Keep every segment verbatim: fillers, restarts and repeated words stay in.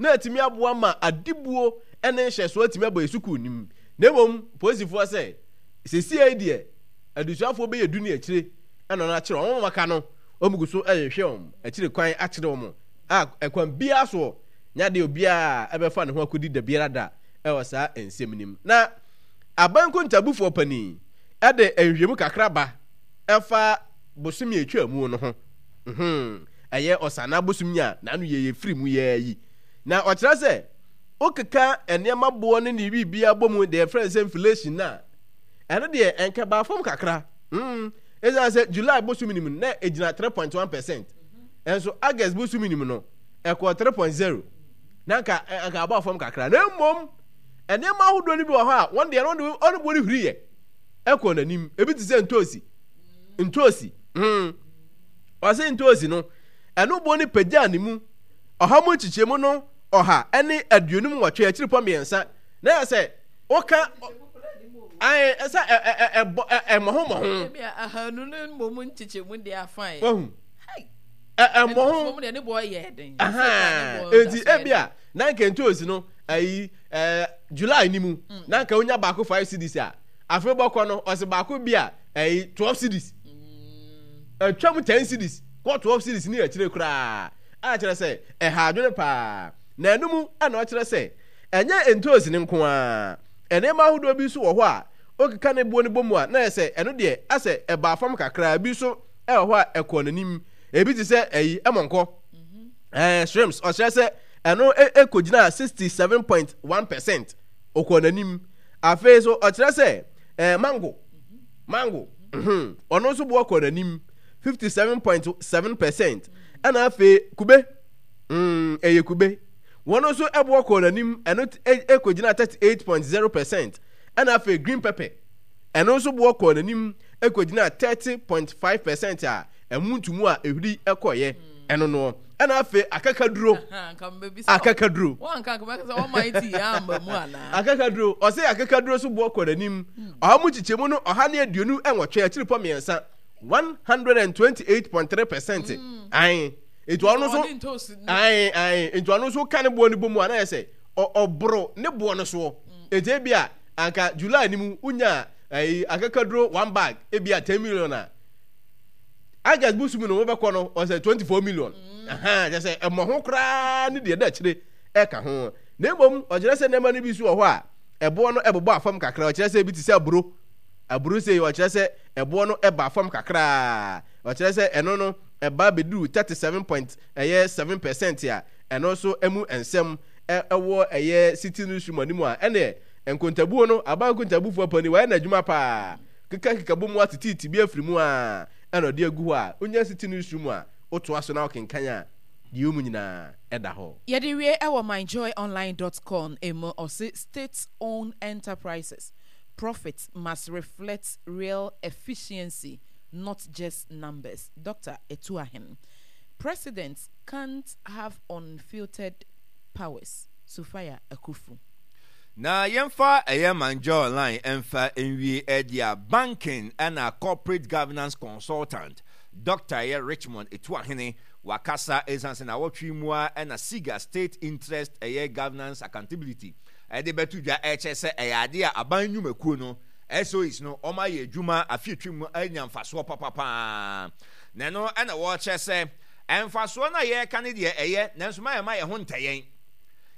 na atumi aboa ma adibuo ne nhyɛsoɔ atumi abɔ yɛ sukuu no mu. Na mmom polisifoɔ sɛ seesei yi deɛ adesuafoɔ bɛyɛ du ne akyire ɛna wɔn akyere wɔn, wɔn aka no wɔn gu so rehwehwɛ wɔn akyire kwan akyere wɔn a ɛkwan biara soɔ nyɛ adeɛ obiara ɛbɛfa ne ho akɔdi da biara da ɛwɔ saa nsɛm no mu. Na aban nkontabufoɔ panin ɛde nhwehwɛmu kakra ba ɛfa bosome a ɛtwa mu no ho. Mhm. Ɛyɛ ɔsanaa bosom yi a n'ano yɛ yɛ firi mu yɛ yi. Na ɔkyerɛ sɛ wokeka nneɛma boɔ ne ne biribiara bɔ mu deɛ yɛfrɛ no sɛ inflation no a, ɛno deɛ ɛnka baa fam kakra. Mm. Ɛsiane sɛ July bosom no mu no na ɛgyina three point one percent. Ɛnso August bosom no mu no ɛkɔɔ three point zero. Na nka anka abɔ fam kakra. Na mmom nneɛma ahodoɔ no bi wɔ hɔ a wɔn deɛ no wɔn boɔ no huri yɛ ɛkɔɔ n'anim. Ebi te sɛ ntoosi. Ntoosi. Mm. Ɔse ntoosi no, ɛno boɔ no pagyaa ne mu ɔha mu nkyekyɛmu no ɔha ne aduonum nwɔtwe akyiripɔ mmiɛnsa. Na yɛ sɛ woka ae sɛ ɛbɔ ɛmmɔho mmɔho. Ebi a ahanu no mmom nkyekyɛmu deɛ afa yɛ. Wahu. Ɛmmɔho. Deɛ ne boɔ yɛ den. Enti ebi a na nka ntoosi no ayi ɛɛ July ni mu mm. na nka wonya baako five cedis a afei bɔkɔ no ɔse baako bi a ɛyi twelve cedis. Atwam ten cedis kɔ twelve cedis ne akyire koraa a kyerɛ sɛ ɛha adwene paa. Na ɛno mu na ɔkyerɛ sɛ ɛnyɛ ntoosi no nko ara, nneɛma ahodoɔ bi nso wɔ hɔ a wokeka ne boɔ no bɔ mu a na ayɛ sɛ ɛno deɛ asɛ ɛbaa fam kakra, ebi nso ɛwɔ hɔ a ɛkɔɔ n'anim. Ebi te sɛ ɛyi ɛmɔnkɔ, ɛɛ shrimps, ɔkyerɛ sɛ ɛno ɛkɔgyinaa sixty seven point one percent, ɔkɔɔ n'anim. Afei nso ɔkyerɛ sɛ ɛɛ mango, mango, mhm, ɔno nso boɔ kɔɔ n'anim fifty seven point seven percent. Ɛna afei kube, mm, ɛyɛ kube, wɔn nso ɛboɔ kɔɔ n'anim, ɛno ɛkɔgyina thirty eight point zero percent. Ɛna afei green pepper, ɛno nso boɔ kɔɔ n'anim ɛkɔgyina thirty point five percent a ɛmu ntumu a ehuri ɛkɔɔyɛ ɛno noɔ. Ɛna afei akakaduro, akakaduro, akakaduro, ɔsɛ akakaduro nso boɔ kɔɔ n'anim ɔha mu nkyekyɛmu no ɔha ne aduonu nwɔtwe akyiripɔ mmiɛnsa one hundred and twenty eight point three percent. Ae, nti ɔno nso ae ae nti ɔno nso ka ne boɔ no bɔ mu a na yɛ sɛ ɔboro ne boɔ no soɔ. Nti ebi a anka July ni mu wonya ɛyi akakaduro one bag ebi a ten million a, August bosom no wobɛkɔ no ɔsɛ twenty four million. Ɛhɛn, kyerɛ sɛ ɛmmɔ ho koraa ne deɛ ɛda akyire ɛka ho. Na mmom ɔkyerɛ sɛ nneɛma no bi nso wɔ hɔ a ɛboɔ no ɛbobɔ afam kakra. Ɔkyerɛ sɛ ebi te sɛ aburo, aburo sei ɔkyerɛ sɛ ɛboɔ no ɛba fam kakra. Ɔkyerɛ sɛ ɛno no ɛba bɛduru thirty seven point ɛyɛ seven percent a ɛno nso ɛmu nsɛm ɛwɔ ɛyɛ city newsroom anim a ɛneɛ nkontabuo no aban nkontabufoɔ panin wayɛ n'adwuma paa. Keka keka bɔ mu ateteete bi afiri mu a ɛna ɔde agu hɔ a wonya city newsroom a wotoa so na wokenkan a deɛ ɛwɔ mu nyinaa ɛda hɔ. Yɛde wie ɛwɔ myjoyonline dot com mu, ɔse state owned enterprises profit must reflect real efficiency not just numbers, Doctor Atuahen. President can't have unfiltered powers, Sophia Akuffo. Na yɛmfa ɛyɛ MyJoyOnline mfa nwie ɛde a banking ɛna corporate governance consultant Doctor ɛyɛ Richmond Atuahene wakasa ɛsiane sɛ nawɔtwe yi mu ara ɛna SIGA State Interest ɛyɛ Governance Accountability ɛde bɛto dwa ɛkyerɛ sɛ ɛyɛ adeɛ a aban nnwumakuo no S O Es no wɔn ayɛ adwuma afe atwam mu anya mfasoɔ papapaa na ɛno ɛna wɔkyerɛ sɛ mfasoɔ no a yɛreka no deɛ ɛyɛ nanso ma yɛma yɛn ho ntɛ yɛn.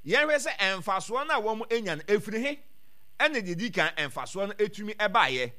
Yɛnhwɛ sɛ mfasoɔ no a wɔanya no, ɛfiri he na deɛ ɛdi kan mfasoɔ no tumi baeɛ?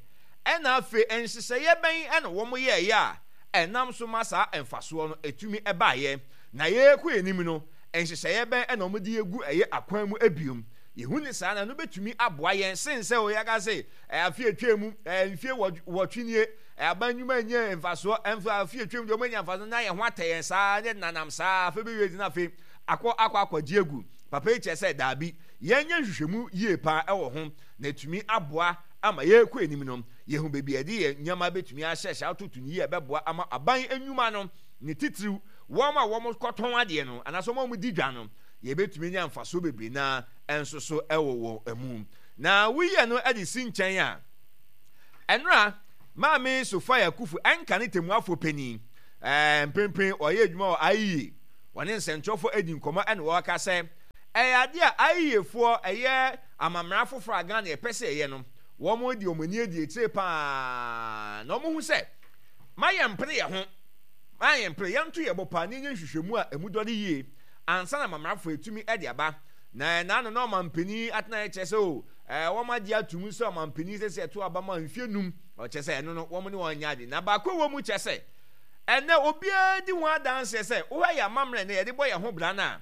Ɛna afei nhyehyɛeɛ bɛn na wɔyɛeɛ a ɛnam so ma saa mfasoɔ no tumi baeɛ? Na yɛrekɔ anim no, nhyehyɛeɛ bɛn na wɔde agu ɛyɛ akwan mu biom? Yɛhu no saa no, ɛno bɛtumi aboa yɛn sen sɛ o yɛaka sɛ afe a ɛtwaa mu, mfie nwɔtwe nie, aban nnwuma nnya mfasoɔ, afe a ɛtwaa mu deɛ wɔanya mfasoɔ na yɛn ho atɛ yɛn saa, ne nanam saa, afei bɛwie nti na afei akɔ akɔ akɔgye agu. Papa yi kyerɛ sɛ daabi, yɛnyɛ nhwehwɛmu yie paa wɔ ho na atumi aboa ama yɛrekɔ anim no, yɛhu baabi a yɛde yɛn nneɛma bɛtumi ahyɛhyɛ atoto no yie a ɛbɛboa ama aban nnwuma no, ne titiriw wɔn a wɔkɔtɔn adeɛ no anaasɛ wɔn a wɔdi dwa no, yɛbɛtumi anya mfasoɔ bebree no ara nso so wɔ wɔn mu. Na woyi ɛno de si nkyɛn a, ɛnora Maame Sophia Akuffo ɛnka ne tɛmmuafoɔ panin, ɛɛ mprempren ɔyɛ adwuma wɔ I E A, Wɔne nsɛnkyerɛwfo adi nkɔmmɔ na wɔka sɛ Ɛyɛ adeɛ a ayiefoɔ ɛyɛ amammerɛ afoforɔ a Ghana yɛpɛ sɛ ɛyɛ no, wɔn de wɔn ani adi akyire paa na wɔn ho sɛ ma yɛn mpere yɛn ho, ma yɛn mpere yɛn to yɛn bo paa na yɛnyɛ nhwehwɛmu a emu dɔ de yie ansa na amammerɛ afoforɔ etumi de aba. Na ɛna no na ɔmampanin atena yɛ kyerɛ sɛ o ɛɛ wɔn agye atum sɛ ɔmampanin sɛ sɛ ɛto aba ma mfie num, ɔkyerɛ sɛ ɛno no wɔn ne wɔn nyɛ ade. Na baako wɔ mu kyerɛ sɛ ɛnɛ obiara di ho adanseɛ sɛ wohwɛ yɛn amammerɛ na yɛde bɔ yɛn ho bra no a,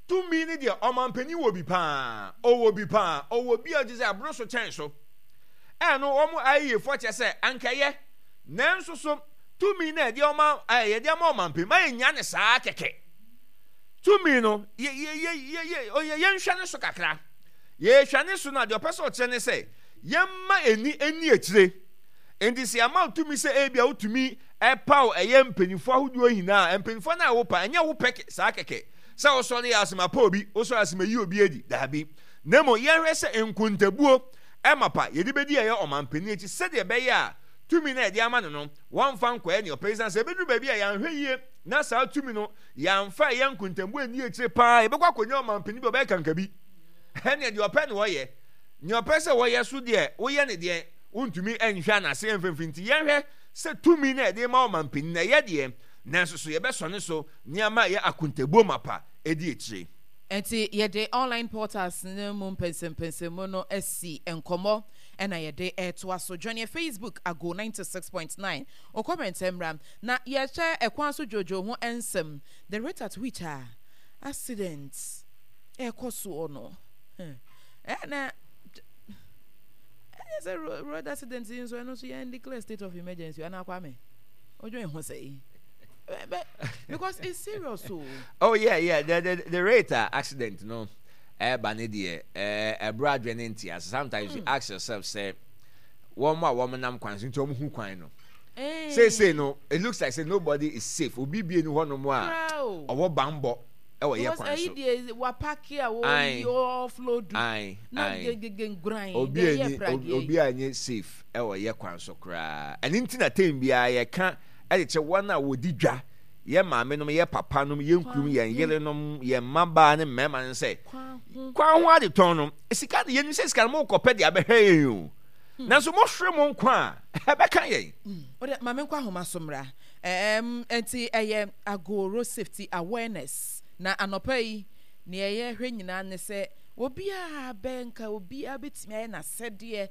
tumi ne deɛ ɔmampanin wɔ bi paa, ɔwɔ bi paa, ɔwɔ bi a ɔgye sɛ aboro so kyɛn so. Ɛno wɔn ayiefoɔ kyerɛ sɛ ankɛyɛ, nanso so tumi na yɛde ɔma ɛɛ yɛde ama ɔmampanin ma yɛnya ne saa kɛkɛ. Tumi no yɛ yɛ yɛ yɛ yɛ yɛnhwɛ ne so kakra. Yɛhwɛ ne so no a, deɛ ɔpɛ sɛ ɔkyerɛ ne sɛ yɛmma ani ani akyire. Nti sɛ yɛama tumi sɛ ebi a wotumi ɛpaw ɛyɛ mpanyinfoɔ ahodoɔ nyinaa, mpanyinfoɔ no a wopa ɛnyɛ wo pɛ saa kɛkɛ sɛ wosɔre yɛ asɛm apa obi, wosɔre asɛm ayi obi adi, daabi. Na mmom yɛnhwɛ sɛ nkontabuo ɛma pa yɛde bɛdi ɛyɛ ɔmampanin akyi sɛdeɛ ɛbɛyɛ a tumi no a yɛde ama no no wɔmfa nkɔyɛ nea ɔpɛ. Ɛsiane sɛ ɛbɛduru baabi a yɛanhwɛ yie na saa tumi no yɛamfa ɛyɛ nkontabuo anni akyire paa, yɛbɛkɔ akɔnya ɔmampanin bi a ɔbɛyɛ kankabi. Ɛnneɛ deɛ ɔpɛ na ɔyɛ, nea ɔpɛ sɛ wɔyɛ so deɛ woyɛ ne deɛ wontumi nhwɛ anaasɛ yɛmfimfini. Nti yɛnhwɛ sɛ tumi no a yɛde ma ɔmampanin no ɛyɛ deɛ, nanso so yɛbɛsɔ ne so nneɛma a ɛyɛ akontabuo mapa di akyire. Nti yɛde online portals no mu mpɛnsɛmpɛnsɛmu no asi nkɔmmɔ na yɛde retoa so. Join yɛ Facebook Ago ninety six point nine. Wo comment mmra na yɛhwɛ ɛkwan so dwoodwoo ho nsɛm. The rate at which a accident ɛrekɔ soɔ no, ɛna ɛnyɛ sɛ road accident yi nso ɛno nso yɛn declare state of emergency anaa Kwame? Odwen ho sɛ because it's serious o. Oh yeah, yeah, the the the rate uh, accident no ɛba ne deɛ ɛboro adwene ne nte ase. Sometimes mm. you ask yourself sɛ wɔn a wɔn nam kwan so nti wɔn hu kwan no. Seesei no it looks like say nobody is safe. Obi bie ni hɔ nom a ɔwɔ banbɔ ɛwɔ yɛ kwan so. Because ɛyi deɛ wapaki a wɔyi offload. Ayi na gegege nguran. Obi ani obi a nye safe ɛwɔ yɛ kwan so koraa. Ɛne nti na tem biara yɛka ɛde kyɛ wɔn a wɔdi dwa, yɛ maame nom, yɛ papa nom, yɛ nkurum, yɛn yerenom, yɛn mmabaa ne mmarima no sɛ kwan ho adetɔn no sika de yɛnim sɛ sika no mo kɔpɛ de abɛhwɛ yɛn o, nanso mohwere mo nkwa a ɛbɛka yɛn. Wode ma me nkɔ ahoma so mmra. Ɛɛm, nti ɛyɛ Ago Road Safety Awareness. Na anɔpa yi, nea yɛhwɛ nyinaa ne sɛ obiara bɛ nka obiara bɛtumi ayɛ n'asɛdeɛ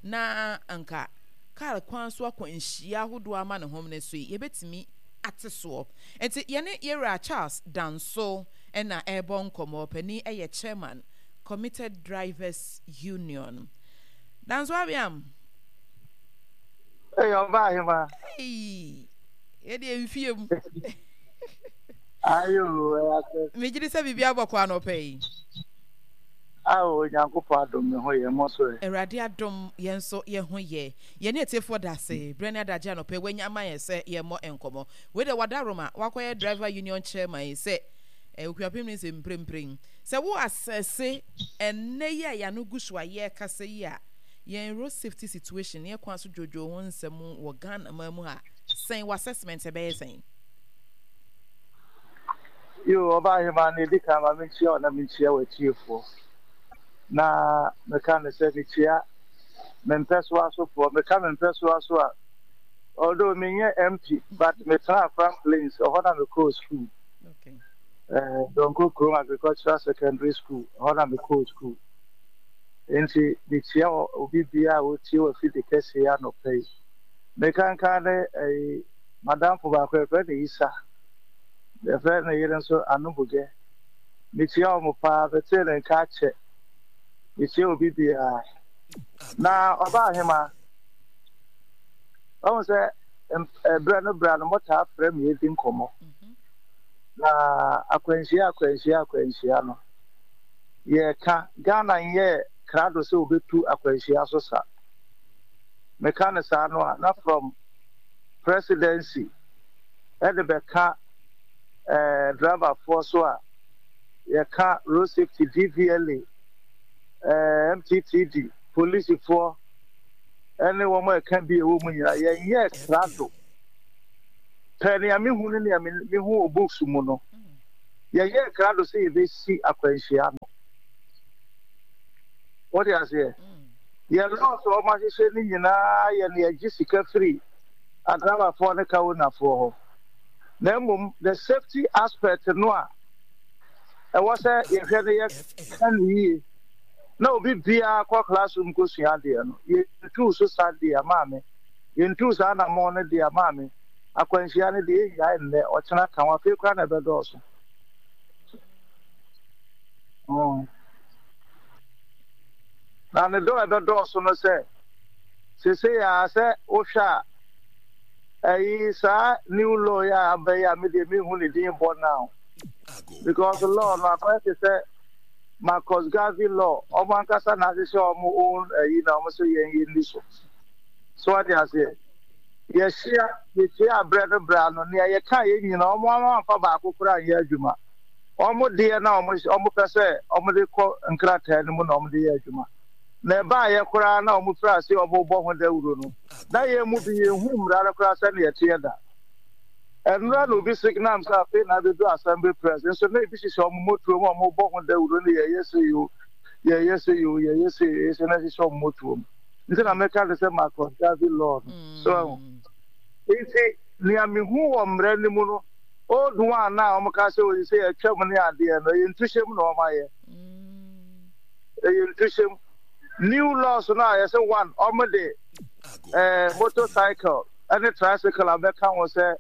na anka kar kwan so akwanhyia ahodoɔ ama ne homene so yi, yɛbɛtumi ate soɔ. Nti yɛne Yɛwura Charles Danso na ɛrebɔ nkɔmmɔ. Panin yɛ Chairman, Committed Drivers Union. Danso Abiam. Hey, ɔba ahema. Hey, yɛde mfie mu. Ayo, ɛyɛ asɛ. Megye di sɛ biribi abɔ kɔ anɔpa yi. Awo, Onyankopɔn adom me ho yɛ, mo so ɛ? Awurade adom yɛn nso yɛn ho yɛ. Yɛne atiefoɔ da ase berɛ ne adagye anɔpa yi wanya ama yɛn sɛ yɛmmɔ nkɔmmɔ. Wei deɛ wadaworoma wakɔyɛ driver union chairman yi sɛ eh, Okuapem ne sɛ mprempren. Sɛ wo asɛse ɛnnɛ yi a yɛano gu so a yɛrekasa yi a, yɛn road safety situation ne ɛkwan so dwoodwoo ho nsɛm wɔ Ghana man mu ha, sɛn w'assessment ɛbɛyɛ sɛn? Yo, ɔba ahema no, edi kan ma menkyia wo na menkyia w'atiefoɔ. Na meka no sɛ mekyia me mpɛsoa sofoɔ. Meka me mpɛsoa so a, although menyɛ M P, but metena Afram Plains, ɛhɔ na mekɔɔ school. Okay. Eh, Donko Kurom Agricultural Secondary School, ɛhɔ na mekɔɔ school. Nti mekyia obi biara a ɔtie wɔ afidi kɛseɛ yi anɔpa yi. Mekankan ne ɛyi madamfo baako yɛfrɛ no Isa, yɛfrɛ ne yere nso Anobugɛ. Mekyia wɔn paa, metee ne nka akyɛ. Mekyia obi biara. Na ɔba ahema, ɔhu sɛ ɛberɛ no berɛ no motaa frɛ me yɛdi nkɔmmɔ. Na akwanhyia akwanhyia akwanhyia no, yɛka Ghana nyɛ krado sɛ wobɛtu akwanhyia so sa. Meka no saa no a, na from presidency ɛde bɛka ɛɛ driverfoɔ so a yɛka road safety, D V L A, ɛɛ M T T D, polisifoɔ ɛne wɔn a ɛka bi a ɛwɔ mu nyinaa, yɛnyɛ krado. Pɛ nea mehu ne nea mehu wɔ books mu no, Yɛyɛɛ krado sɛ yɛbɛsi akwanhyia no. Wote aseɛ? Yɛn laws a wɔahyehyɛ no nyinaa yɛ nea ɛgye sika firi adrabafoɔ ne car ownerfoɔ hɔ. Na mmom the safety aspect no a ɛwɔ sɛ yɛhwɛ no yɛka no yie na obi biara kɔ classroom kɔsua adeɛ no, yɛntuu so sa deɛ maame, yɛntuu saa anammɔn no deɛ maame, akwanhyia no deɛ ɛnnyae nnɛ, ɔkyena ka ho, afei koraa na ɛbɛdɔɔso. Mm. Na ne dɔ a ɛbɛdɔɔso no sɛ, seesei ara sɛ wohwɛ a, ɛyi saa new law yi a aba yi a me deɛ menhu ne din bɔ now because law no akɔyɛ te sɛ Marcus Garvey law, wɔn ankasa na ahyehyɛ wɔn own ɛyi na wɔn sɛ yɛn yɛn ni so. So wate aseɛ? Yɛhyia yɛhyia abrɛ no brɛ ano nea yɛka yɛn nyinaa wɔn amfa baako koraa nyɛ adwuma. Wɔn deɛ na wɔn wɔn pɛ sɛ wɔn de kɔ nkrataa no mu na wɔn de yɛ adwuma. Na ɛbaayɛ koraa na wɔn firi ase wɔn bɔ ho dawuro no, na yɛn mu bi yɛn hu mmara no koraa sɛnea ɛteɛ da. Ɛnora na obi signam sɛ afei na abedu assembly press nso na ebi hyehyɛ wɔn motuo mu a wɔn bɔ ho dawuro no yɛyɛ sɛ yoo yɛyɛ sɛ yoo yɛyɛ sɛ yɛyɛ sɛ na ɛhyehyɛ wɔn motuo mu. Nti na meka de sɛ Marcus Garvey law no. So ɛho. Nti nea mehu wɔ mmara no mu no, old one na wɔn ka sɛ oyi sɛ yɛtwam ne adeɛ no, ɛyɛ ntuhyɛm na wɔn ayɛ. Ɛyɛ ntuhyɛm. New laws no a yɛsɛ one wɔn de ɛɛ motorcycle ɛne tricycle abɛka ho sɛ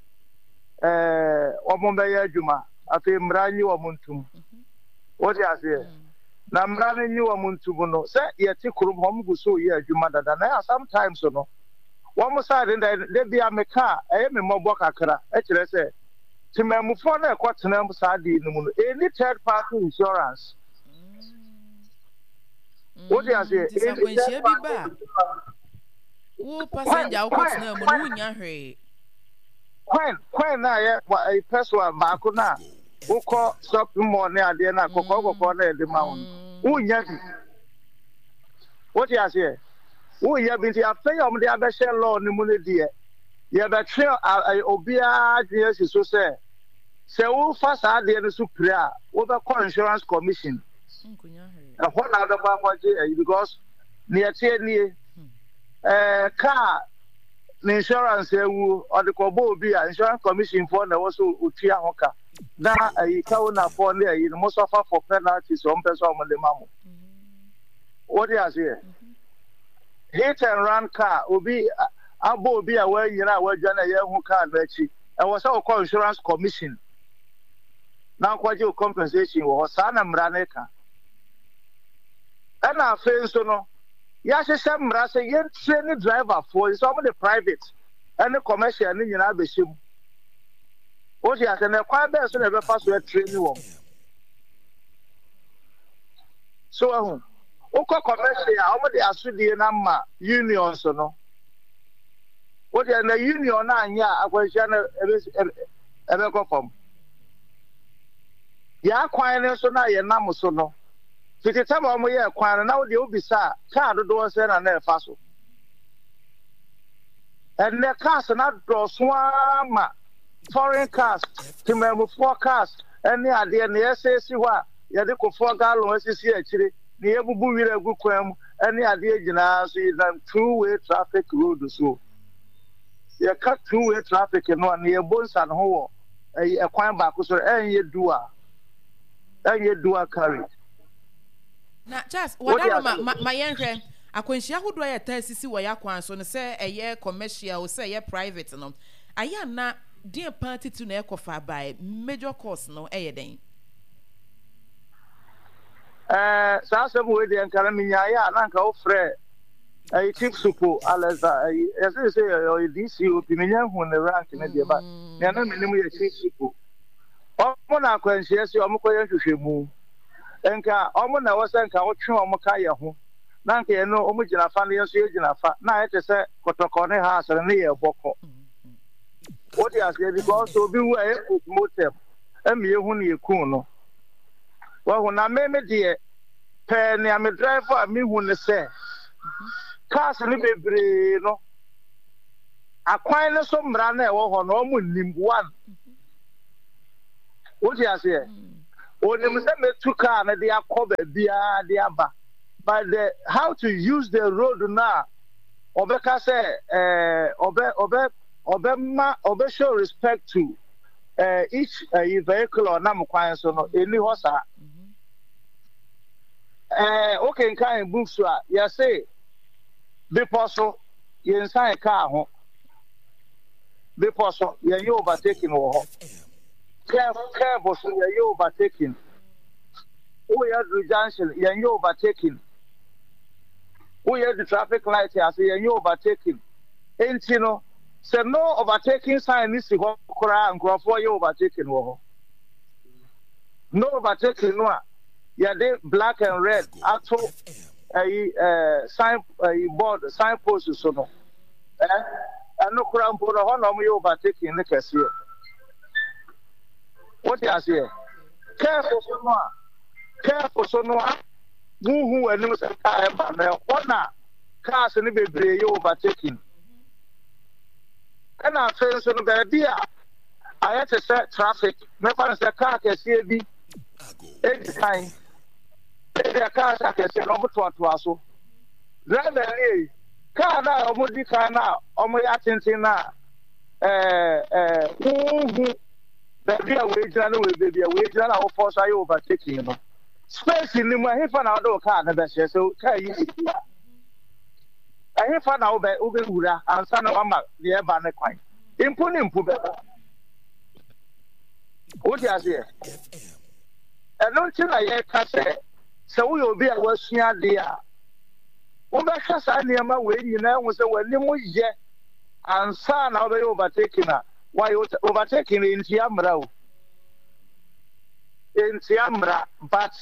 ɛɛ wɔn bɛyɛ adwuma. Afei mmara nyi wɔn ntum. Wote aseɛ? Na mmara no nyi wɔn ntum no, sɛ yɛte kurom hɔ, wɔn gu so reyɛ adwuma dada. Na ɛyɛ sometimes no, wɔn side no da da bi a meka a ɛyɛ me mmɔbɔ kakra. Ɛkyerɛ sɛ temanmufoɔ no a ɛkɔtena saa adeɛ no mu no, ɛnni third party insurance. Wote aseɛ? Nti sɛ akwanhyia bi ba a, wo passenger a wokɔtena mu no wonnya hwee. Kwan kwan na yɛ pɛsoa baako no a wokɔ shopping mall ne adeɛ no a kɔkɔɔ kɔkɔɔ na yɛde ma wo no, wonnya bi. Wote aseɛ? Wonnya bi nti afei a wɔde abɛhyɛ law no mu no deɛ, yɛbɛtwe obiara adwene asi so sɛ sɛ wofa saa adeɛ no so pire a, wobɛkɔ insurance commission. Ɛhɔ na wobɛkɔ akɔgye ayi because nea ɛteɛ nie, ɛɛ kaa ne insurance awu ɔde kɔbɔ obi a insurance commission foɔ na ɛwɔ so otua ho ka na ayi ka ownerfoɔ ne ayi no mo sɔfa for penalties wɔn pɛ sɛ wɔn de ma mo. Wode aseɛ? Hit and run car obi abɔ obi a wɔanyina a wɔadwane a yɛahu car no akyi ɛwɔ sɛ wokɔ insurance commission na wokɔgye wo compensation wɔ hɔ. Saa na mmara no ka. Ɛna afei nso no yɛahyehyɛ mmara sɛ yɛntie ne driverfoɔ yi sɛ wɔn de private ɛne commercial ne nyinaa bɛhyɛ mu. Wote ase? Na ɛkwan bɛn so na ɛbɛfa so atire ne wɔn? So ahu, wokɔ commercial a wɔn de asodie no ama unions no. Wote na union no anyɛ a akwanhyia no ɛbɛkɔ fam. Yɛn akwan no nso na yɛnam so no, fiti tam a wɔyɛɛ kwan no na wodeɛ wobisa a kaa dodoɔ sɛ na na ɛfa so. Ɛnnɛ cars no adɔɔso ara ma foreign cars, temanmufoɔ cars ne adeɛ nea ɛsɛesi hɔ a yɛde kofoɔ gallon asisi akyire, nea yɛbubu wira agu kwan mu ne adeɛ nyinaa nso yɛnam two way traffic road so. Yɛka two way traffic no a nea yɛbɔ nsa ho wɔ ɛyi ɛkwan baako so ɛnyɛ dual, ɛnyɛ dual carriage. Na Charles, wada no ma ma ma yɛnhwɛ akwanhyia ahodoɔ a yɛtaa sisi wɔ yɛn akwan so no, sɛ ɛyɛ commercial o, sɛ ɛyɛ private no, ayɛ a na deɛn paa titiriw na ɛkɔfa bae? Major cause no yɛ dɛn? Ɛɛ, saa asɛm wei deɛ nka na menyaeɛ a na nka wofrɛ ɛyi Chief Supo Alexa ɛyi yɛsɛ sɛ ɔyɛ D C O P, menya hu ne rank ne deɛ ba nea na menim yɛ Chief Supo. Ɔmo na akwanhyia si ɔmo kɔyɛ nhwehwɛmu, nka ɔmo na ɛwɔ sɛ nka wotwe ɔmo ka yɛ ho na nka yɛn no ɔmo gyina fa no yɛn nso yɛgyina fa na ayɛ te sɛ Kɔtɔkɔ ne Hearts no ne yɛ bɔkɔ. Wote aseɛ? Because obi wu a ɛyɛ postmortem ɛma yɛhu ne yɛkuu no. Wahu? Na me me deɛ pɛɛ nea me drive a mehu ne sɛ cars no bebree no akwan no so mmara no a ɛwɔ hɔ no ɔmo nnim one. Wote aseɛ? Onim sɛ mɛtu kaa no de akɔ baabiara de aba, but the how to use the road no a ɔbɛka sɛ ɛɛ ɔbɛ ɔbɛ ɔbɛma ɔbɛ show respect to ɛɛ each ɛyi vehicle a ɔnam kwan so no, ɛni hɔ saa. Ɛɛ wokenkan books a, yɛse bepɔ so yɛnsan kaa ho, bepɔ so yɛnyɛ overtaking wɔ hɔ, curve curve so yɛyɛ overtaking, woyɛ duru junction yɛnyɛ overtaking, woyɛ du traffic light ase yɛnyɛ overtaking. Nti no sɛ no overtaking sign no si hɔ koraa, nkurɔfoɔ yɛ overtaking wɔ hɔ. No overtaking no a yɛde black and red ato ɛyi ɛɛ sign ɛyi board, sign post so no, ɛ ɛno koraa mpo no, hɔ na wɔyɛ overtaking no kɛseɛ. Wote aseɛ? Curve so no a curve so no a wohu w'anim sɛ kaa ɛba no, ɛhɔ na cars no bebree yɛ overtaking. Ɛna afei nso no, baabi a ayɛ te sɛ traffic, mɛfa no sɛ kaa kɛseɛ bi edi kan, ebi a cars akɛseɛ no wɔtoatoa so, driver nie, kaa no a wɔdi kan no a wɔyɛ atenten no a ɛɛ ɛɛ wohu baabi a wɔgyina no, wɔ baabi a wɔgyina no a wɔfɔ so ayɛ overtaking no, space ni mu, ɛhefa na wɔde wo kaa no bɛhyɛ? Sɛ kaa yi si a, ɛhefa na wobɛ wobɛwura ansa na wama deɛ ɛba ne kwan? Mpo ne mpo bɛba. Wote aseɛ? Ɛno nti na yɛka sɛ sɛ woyɛ obi a wasua adeɛ a, wobɛhwɛ saa nneɛma wei nyinaa hu sɛ w'anim yɛ ansa na wobɛyɛ overtaking a wayɛ overtaking. Ntia mmara o, ntia mmara, but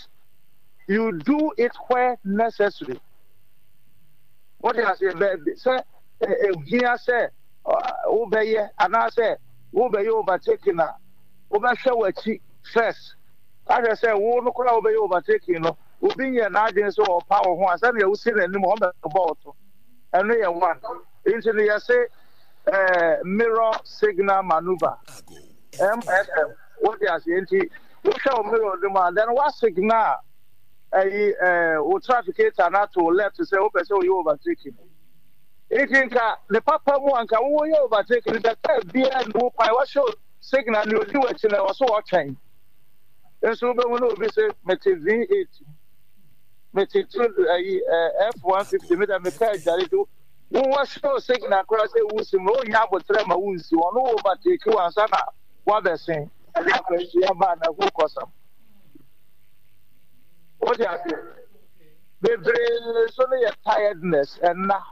you do it where necessary. Wote aseɛ? Baabi sɛ ehia sɛ wobɛyɛ anaasɛ wobɛyɛ overtaking a, wobɛhwɛ w'akyi first ahwɛ sɛ wo no koraa wobɛyɛ overtaking no, obi nyɛ n'adwene sɛ ɔpa wo ho a, sɛnea wosi n'anim ɔmbɛbɔ wo to. Ɛno yɛ one. Nti no yɛse ɛɛ mirror signal maneuver, M S M. Wote aseɛ? Nti wohwɛ wo mirror no mu a, then wa signal ɛyi ɛɛ wo trafficator no ato left sɛ wopɛ sɛ woyɛ overtaking. Nti nka ne papa mu a nka woyɛ overtaking no, sɛ kaa biara ne wo kwan, wahyɛ signal ne odi w'akyi no, ɛwɔ so wɔtwɛn. Nso wobɛhu no, obi sɛ mete V eight, mete two ɛyi ɛɛ F one fifty, mi da me kaa adware do. Wo wahyɛ signal koraa sɛ wusi mu, wonya abotrɛ ma wonsi, ɔno wo overtake wansa na wabɛsen. Ɛde akwanhyia baa na ɛho kɔsam. Wote aseɛ? Bebree so no yɛ tiredness. Ɛnna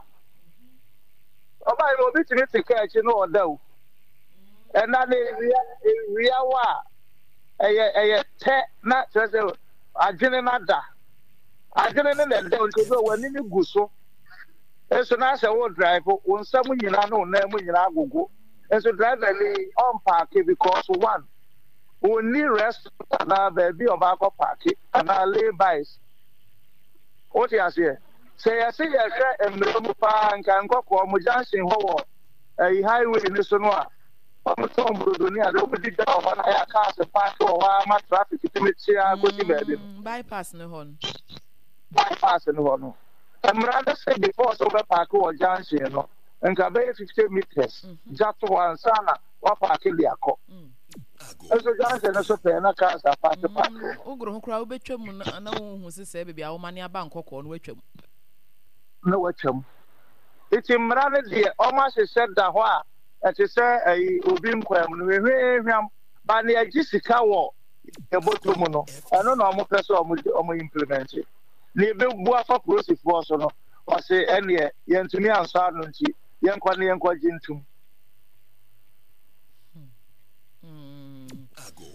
ɔbaa yi, obi tumi te kaa akyi na ɔda o. Ɛnna na ewia ewia wɔ a, ɛyɛ ɛyɛ tɛ na kyerɛ sɛ adwene no ada, adwene no na ɛda o. Nti obi wɔ w'ani no gu so nso na asɛ wo drive, wo nsa mu nyinaa ne wo nan mu nyinaa agogo, nso driver ni ɔmpaake because one, onni restaurant anaa baabi a ɔbaakɔ paake anaa lay-bys. Wote aseɛ? Sɛ yɛse yɛhwɛ mmerɛ mu paa, nka Nkɔkɔɔ mo junction hɔ wɔ ɛyi highway no so no a wɔtɔn brodo ne ade, wɔdi dwa wɔ hɔ na yɛ cars paake wɔ hɔ ama traffic tumi kyea kɔsi baabi no. Mm, bypass ne hɔ no. Bypass no hɔ no, mmara no sɛ before sɛ wobɛpaake wɔ junction no, nka bɛyɛ fifty meters gya to hɔ ansa na wapaake de akɔ. Nso junction no so pɛɛ na cars apaake paake wɔ hɔ. Wogoro ho koraa wobɛtwa mu na na wohu sɛ sɛ baabi a woma ne aba Nkɔkɔɔ no, woatwa mu. Na watwam. Nti mmara no deɛ, ɔmo ahyehyɛ da hɔ a ɛte sɛ ɛyi obi nkwan mu no hwehwɛhwam ba ne agye sika wɔ yɛbɔtɔ mu no, ɛno na ɔmo pɛ sɛ ɔmo ɔmo implement ne ebebu afa polisifoɔ so no. Ɔse ɛneɛ yɛntumi ansɔ ano, nti yɛnkɔ ne yɛnkɔ gye ntum.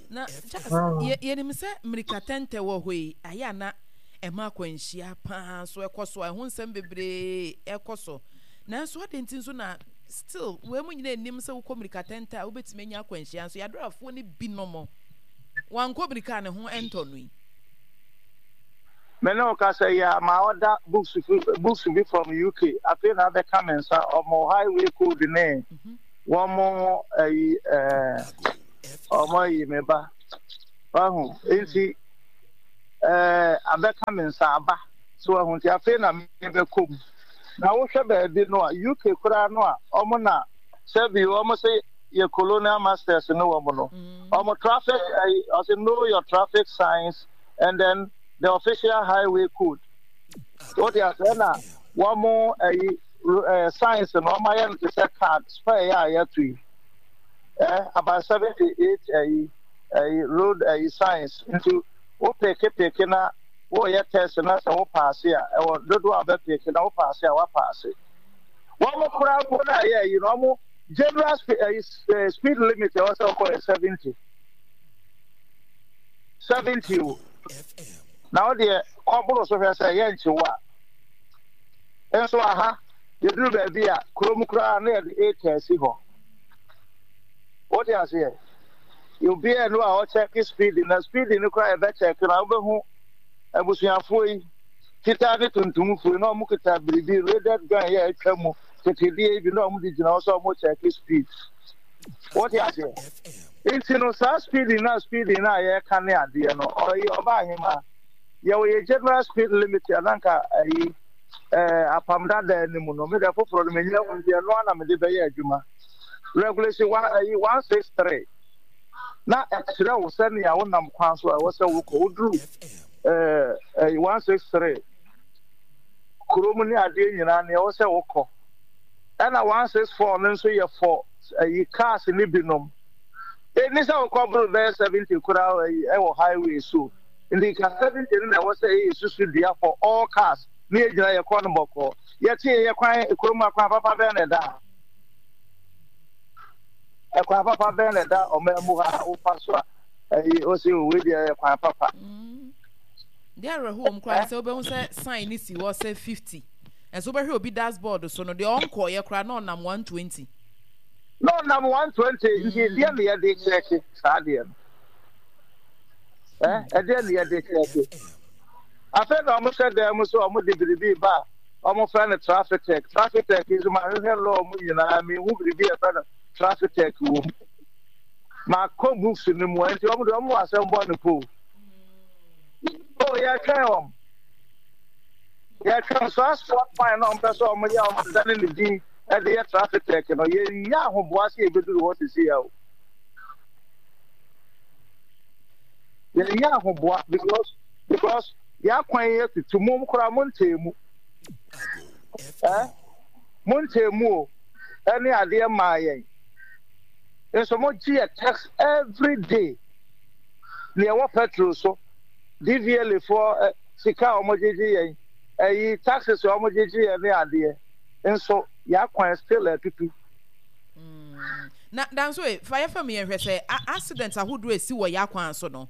Na Charles, yɛnim sɛ mmirika tɛntɛ wɔ hɔ yi ayɛ ana ɛma akwanhyia paa so ɛkɔ so a, ɛho nsɛm bebree ɛkɔ so. Nanso ade nti nso na still wɔn mu nyinaa anim sɛ wokɔ mmirika tɛntɛ a wobɛtumi anya akwanhyia, nso yɛadorafoɔ no binom wankɔ mmirika a ne ho ɛntɔ no yi? Me ne wo kasa yi a, ma ɔda books books bi from U K afei na abɛka me nsa, ɔmo highway code ne wɔn mo ayi ɛɛ ɔmo ayi me ba wahu. Nti Ɛɛ abɛka me nsa aba so ahu nti afei na mebɛkɔ mu. Na wohwɛ baabi no a U K koraa no a ɔmo na sɛbi ɔmo sɛ yɛ colonial masters no wɔ no ɔmo traffic ɛyi ɔsɛ know your traffic signs and then the official highway code. Wote asɛ na wɔn ɛyi ɛɛ signs no ɔmo ayɛ no te sɛ card spare yɛ a yɛto yi ɛ about seventy eight ɛyi ɛyi road ɛyi signs. Nti wo pick pick na wɔyɛ test na sɛ wo pass a, ɛwɔ dodoɔ a bɛ pick na wo pass a, wa pass. Wɔn koraa mpo na ɛyɛ ɛyi no, wɔn general speed ɛyi speed limit ɛwɔ sɛ ɔkɔ yɛ seventy seventy o. Na wo deɛ kɔboro so hwɛ sɛ ɛyɛ nkyew a nso aha yɛduru baabi a kurom koraa na yɛde eight asi hɔ. Wote aseɛ, obiara no a ɔkyɛke speed na speed no koraa yɛbɛkyɛke na wobɛhu abusuafoɔ yi, fitaa ne tuntumfoɔ yi, na ɔmo kita biribi radar gun yɛ atwa mu tetedeɛ yi bi na ɔmo de gyina hɔ sɛ ɔmo kyɛke speed. Wote aseɛ, nti no saa speed na speed na yɛka ne adeɛ no ɔyɛ ɔba ahema yɛwɔ yɛ general speed limit ananka ayi ɛɛ apam dada anim no. Mede foforɔ no menya hu nti ɛno ana mede bɛyɛ adwuma. Regulation one ayi one six three na ɛkyerɛ wo sɛnea wonam kwan so a ɛwɔ sɛ wokɔ woduru ɛɛ ɛyi one six three kurom ne adeɛ nyinaa nea ɛwɔ sɛ wokɔ. Ɛna one six four no nso yɛ for ɛyi cars ne binom ɛni sɛ wokɔ boro bɛyɛ seventy koraa ɛyi ɛwɔ highway so. Nti ka seventy no na ɛwɔ sɛ ɛyɛ susu dua for all cars ne yɛgyina yɛkɔ no bɔkɔɔ. Yɛte yɛ kwan kurom akwan papa bɛn na ɛda ha? Ɛkwan papa bɛn na ɛda ɔman mu ha a wofa so a ɛyi ɔsi owe deɛ ɛyɛ kwan papa? Deɛ awerɛhoɔ mu koraa sɛ wobɛhu sɛ sign ne si hɔ sɛ fifty, ɛnso wobɛhwɛ obi dashboard so no deɛ ɔnkɔɔyɛ koraa na ɔnam one twenty. Na ɔnam one twenty. Nti deɛ ne yɛde kyerɛkye saa deɛ no ɛ ɛdeɛ ne yɛde kyerɛkye. Afei na ɔmo hyɛ dan mu sɛ ɔmo de biribi ba a ɔmo fɛ no traffic tech. Traffic tech nso ma hwehwɛ law mu nyinaa, mi hu biribi a yɛfrɛ no traffic tech wɔ mu. Ma kɔ books no mu. Nti ɔmo de ɔmo wɔ asɛm bɔ ne po o. Yɛtwɛn wɔn, yɛtwɛn saa spot fine na ɔmo pɛ sɛ ɔmo yɛ ɔmo dane ne din ɛde yɛ traffic tech no. Yɛnya ahoboa sɛ yɛbɛduru hɔ sisi ya o. Yɛnya ahoboa because because yɛakwan yɛ tutu mo koraa mo ntee mu ɛ mo ntee mu o. Ɛne adeɛ maa yɛn nso mo gye yɛ tax every day nea ɛwɔ petrol so, D V L A foɔ ɛ sika a wɔn gyegye yɛn, ɛyi taxes a wɔn gyegye yɛn ne adeɛ nso yɛakwan still atutu. Na danso e fa yɛfa mu yɛhwɛ sɛ accident ahodoɔ esi wɔ yɛ akwan so no,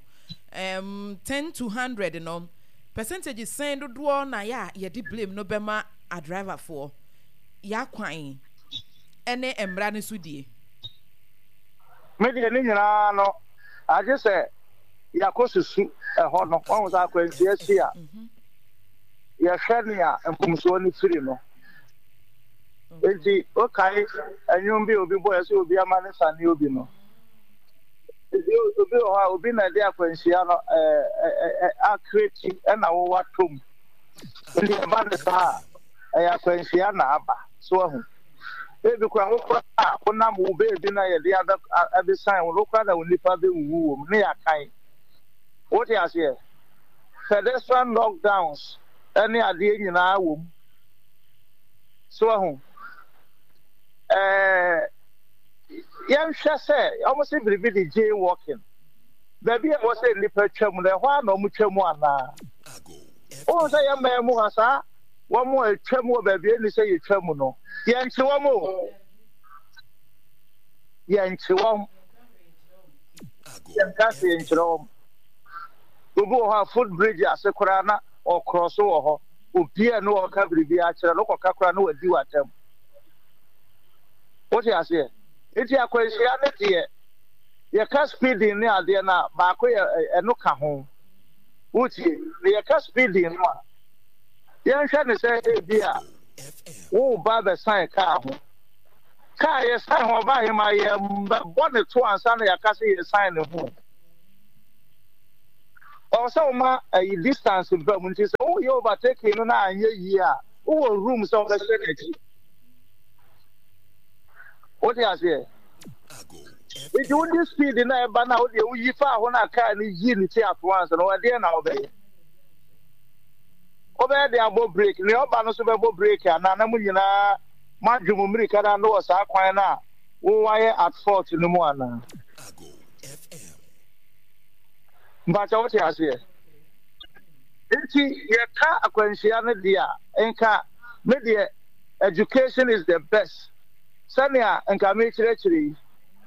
um, ten to hundred no, percentage sɛn dodoɔ na yɛ a yɛde blame no bɛma adriverfoɔ, yɛ akwan ɛne mmara no so die? Me deɛ ne nyinaa no agye sɛ yɛakɔ susu ɛhɔ no wɔn sɛ akwanhyia si a, yɛhwɛ nea mfomsoɔ no firi no. Nti okae ɛnwom bi a obi bɔ yɛ sɛ obi ama ne sane obi no. Nti obi wɔ hɔ a obi na ɛde akwanhyia no ɛɛ ɛɛ akreti ɛna wɔwɔ atom. Nti ɛba ne saa a, ɛyɛ akwanhyia na aba so ahu. Ebi kora wo kora a wonam wo beebi na yɛde abɛ abɛsan wo no kora na wo nipa bɛwuwu wɔ mu ne yɛakan. Wote aseɛ, pedestrian knockdowns ɛne adeɛ nyinaa wɔ mu so ahu. ɛɛ yɛnhwɛ sɛ wɔn sɛ biribi de jaywalking, baabi a ɛwɔ sɛ nnipa twa mu no, ɛhɔ a na wɔn twa mu anaa? Wɔn sɛ yɛn mmaa mu ha saa wɔn a atwa mu wɔ baabi a ɛni sɛ yɛtwa mu no, yɛnkye wɔn o, yɛnkye wɔn, yɛnka se yɛnkyerɛ wɔn. Obi wɔ hɔ a foot bridge ase koraa na ɔkorɔ so wɔ hɔ, obiara ne ɔka biribi akyerɛ no, wokɔka koraa na wadi w'atam. Wote aseɛ? Nti akwanhyia ne deɛ yɛka speeding ne adeɛ no a baako yɛ ɛno ka ho. Wotie na yɛka speeding no a, yɛnhwɛ ne sɛ ebi a woba bɛsan kaa ho. Kaa yɛsan ho ɔba ahema yɛbɛbɔ ne to ansa na yɛaka sɛ yɛsan ne ho. Ɛwɔ sɛ woma ɛyi distance ba mu, nti sɛ woyɛ overtaking no na anyɛ yie a, wowɔ room sɛ wobɛhyɛ n'akyi. Wote aseɛ? Nti wode speed na ɛba na wode woyi faa hɔ na kaa no yi ne ti at once no, ɛdeɛ na wobɛyɛ? Wobɛyɛ de abɔ brake, nea ɔba no nso bɛbɔ brake anaa, na mo nyinaa moadwe mo mmirika no ano wɔ saa kwan no a wowayɛ at fault no mu anaa? Mpakyɛ wote aseɛ? Nti yɛka akwanhyia no deɛ a, nka me deɛ education is the best. Sɛnea nka mekyerɛkyerɛ yi,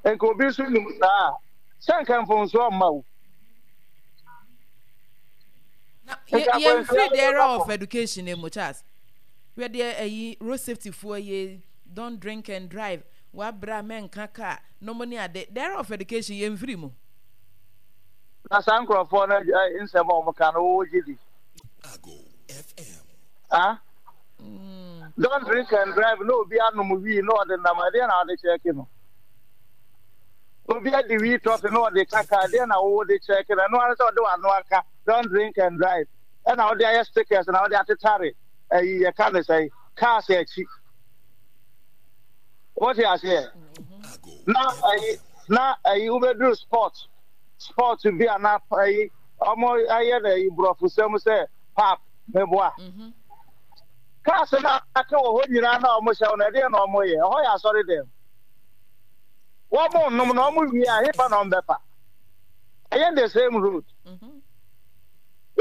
nka obi nso nim saa a, sɛ nka mfomsoɔ mma wo. Na yɛmfiri the era of education mu, Charles. Hwɛ deɛ ayi road safety foɔ yɛ, don't drink and drive, wabra mɛnka car, nom ne ade. The era of education yɛmfiri mu. Na saa nkurɔfoɔ no nsɛm a wɔka no, wogye di? Ah? Mm. Don't drink and drive na obi anom wii na ɔde nam, ɛdeɛ na ɔde kyɛɛke no? Obi adi wii tɔfe na ɔde kaka, ɛdeɛ na wowɔ de kyɛɛke no? Ɛno ara sɛ ɔde w'ano aka don't drink and drive, ɛna ɔde ayɛ stickers na ɔde atetare ɛyi yɛka ne sɛ cars akyi. Wote aseɛ? Na ɛyi na ɛyi wobɛduru sport sport bi a na ɛyi ɔmo ayɛ no ɛyi borɔfosɛm sɛ pap meboa. Mhm. Cars no aka wɔ hɔ nyinaa na ɔmo hyɛ no, ɛdeɛ na ɔmo yɛ? Ɛhɔ yɛ asɔre dɛm. Wɔn nom na ɔmo wie a, hefa na ɔmo bɛfa? Ɛyɛ the same road. Mhm.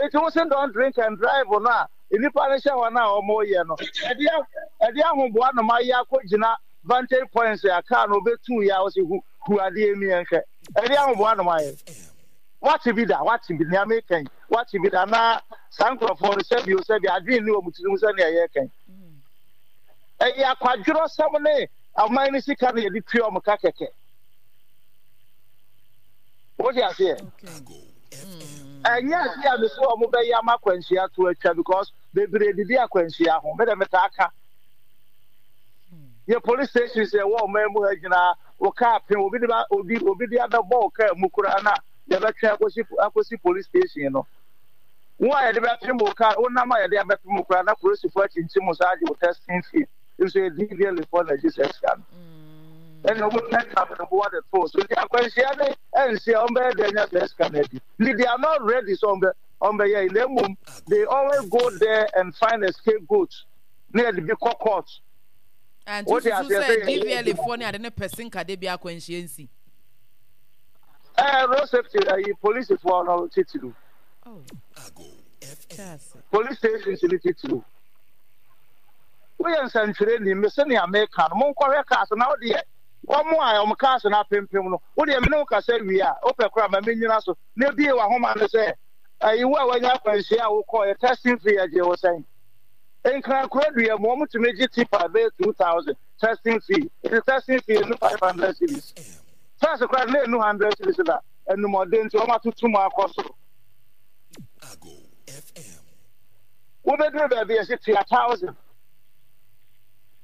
Eti wo se don't drink and drive no a nnipa no hyɛ hɔ no a ɔmo yɛ no, ɛde ɛde ahoboa nom ayɛ akɔgyina vantage points a car no obetu yɛ a ɔsi hu hu adeɛ mi yɛn hwɛ. Ɛde ahoboa nom ayɛ. Wate bi da? Wate bi? Nea meka yi, wate bi da? Na saa nkurɔfoɔ no, sɛbi o sɛbi, adwene nni wɔn tirim sɛnea yɛreka yi. Ɛyɛ akwadworɔsɛm ne ɔman no sika na yɛde tua wɔn ka kɛkɛ. Wote aseɛ? Ɛnyɛ adeɛ a mese wɔn bɛyɛ ama akwanhyia to atwa, because bebree didi akwanhyia ho. Me dɛ metaa ka. Yɛ police stations ɛwɔ ɔman mu ha nyinaa, wo kaa pem, obi de ba obi obi de abɛbɔ wo kaa mu koraa na yɛbɛtwe akɔsi akɔsi police station no. Wo a yɛde bɛpem wo kaa, wonam a yɛde abɛpem wo koraa na polisifoɔ akyinkyim wo saa agye wo testing fee. Nso yɛ D V L A foɔ na agye saa sika no. Ɛna wɔn twa twa de to so. Nti akwanhyia ne ɛnsi a wɔn bɛyɛ dɛ nya saa sika no adi. Nti they are not ready sɛ wɔn bɛ wɔn bɛyɛ yi, na mmom they always go there and find a scapegoat na yɛde bi kɔ court. Nti wosusu sɛ D V L A foɔ ne ade ne pɛ senka de bi akwanhyia nsi? Ɛɛ, road safety ɛyi, polisifoɔ no titiriw. Police stations no titiriw. Woyɛ nsɛntwerɛni, me se nea meka no, monkɔhwɛ cars na wodeɛ wɔn a wɔn cars no apempem no, wodeɛ me ne wo kasa wie a, wopɛ koraa ma menyina so na ebie w'ahoma no sɛ ɛyi wo a wanya akwanhyia a wokɔɔ yɛ testing fee yɛgye wo sɛn? Nkran kuro dua mu wɔn tumi gye tipa bɛyɛ two thousand testing fee. Nti testing fee enu five hundred cedis. First koraa na enu hundred cedis, na enumɔden nti wɔn atoto mu akɔ soro. Wobɛduru baabi yɛsi tua thousand.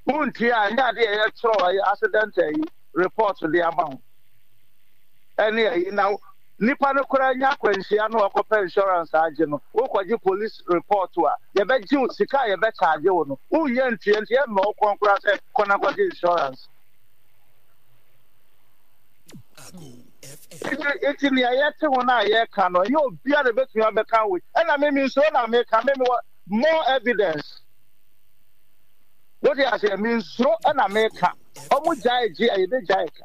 Wontua a, ɛnyɛ adeɛ a yɛtwerɛ ɛyɛ accident ɛyi report de ama ho. Ɛne ɛyi na nipa no koraa nya akwanhyia no, ɔkɔpɛ insurance agye no, wokɔgye police report a, yɛbɛgye wo sika a yɛbɛkyagye wo no, wonnya ntua nti yɛmma wo kɔn koraa sɛ kɔ na kɔgye insurance. Nti nti nea yɛte ho no a yɛka no, ɛnyɛ obiara na ebetumi abɛka wei. Ɛna me me nsuro na meka, me mewɔ more evidence. Wote aseɛ? Me nsuro ɛna meka. Ɔmo gyae gye a, yɛbɛgyae ka.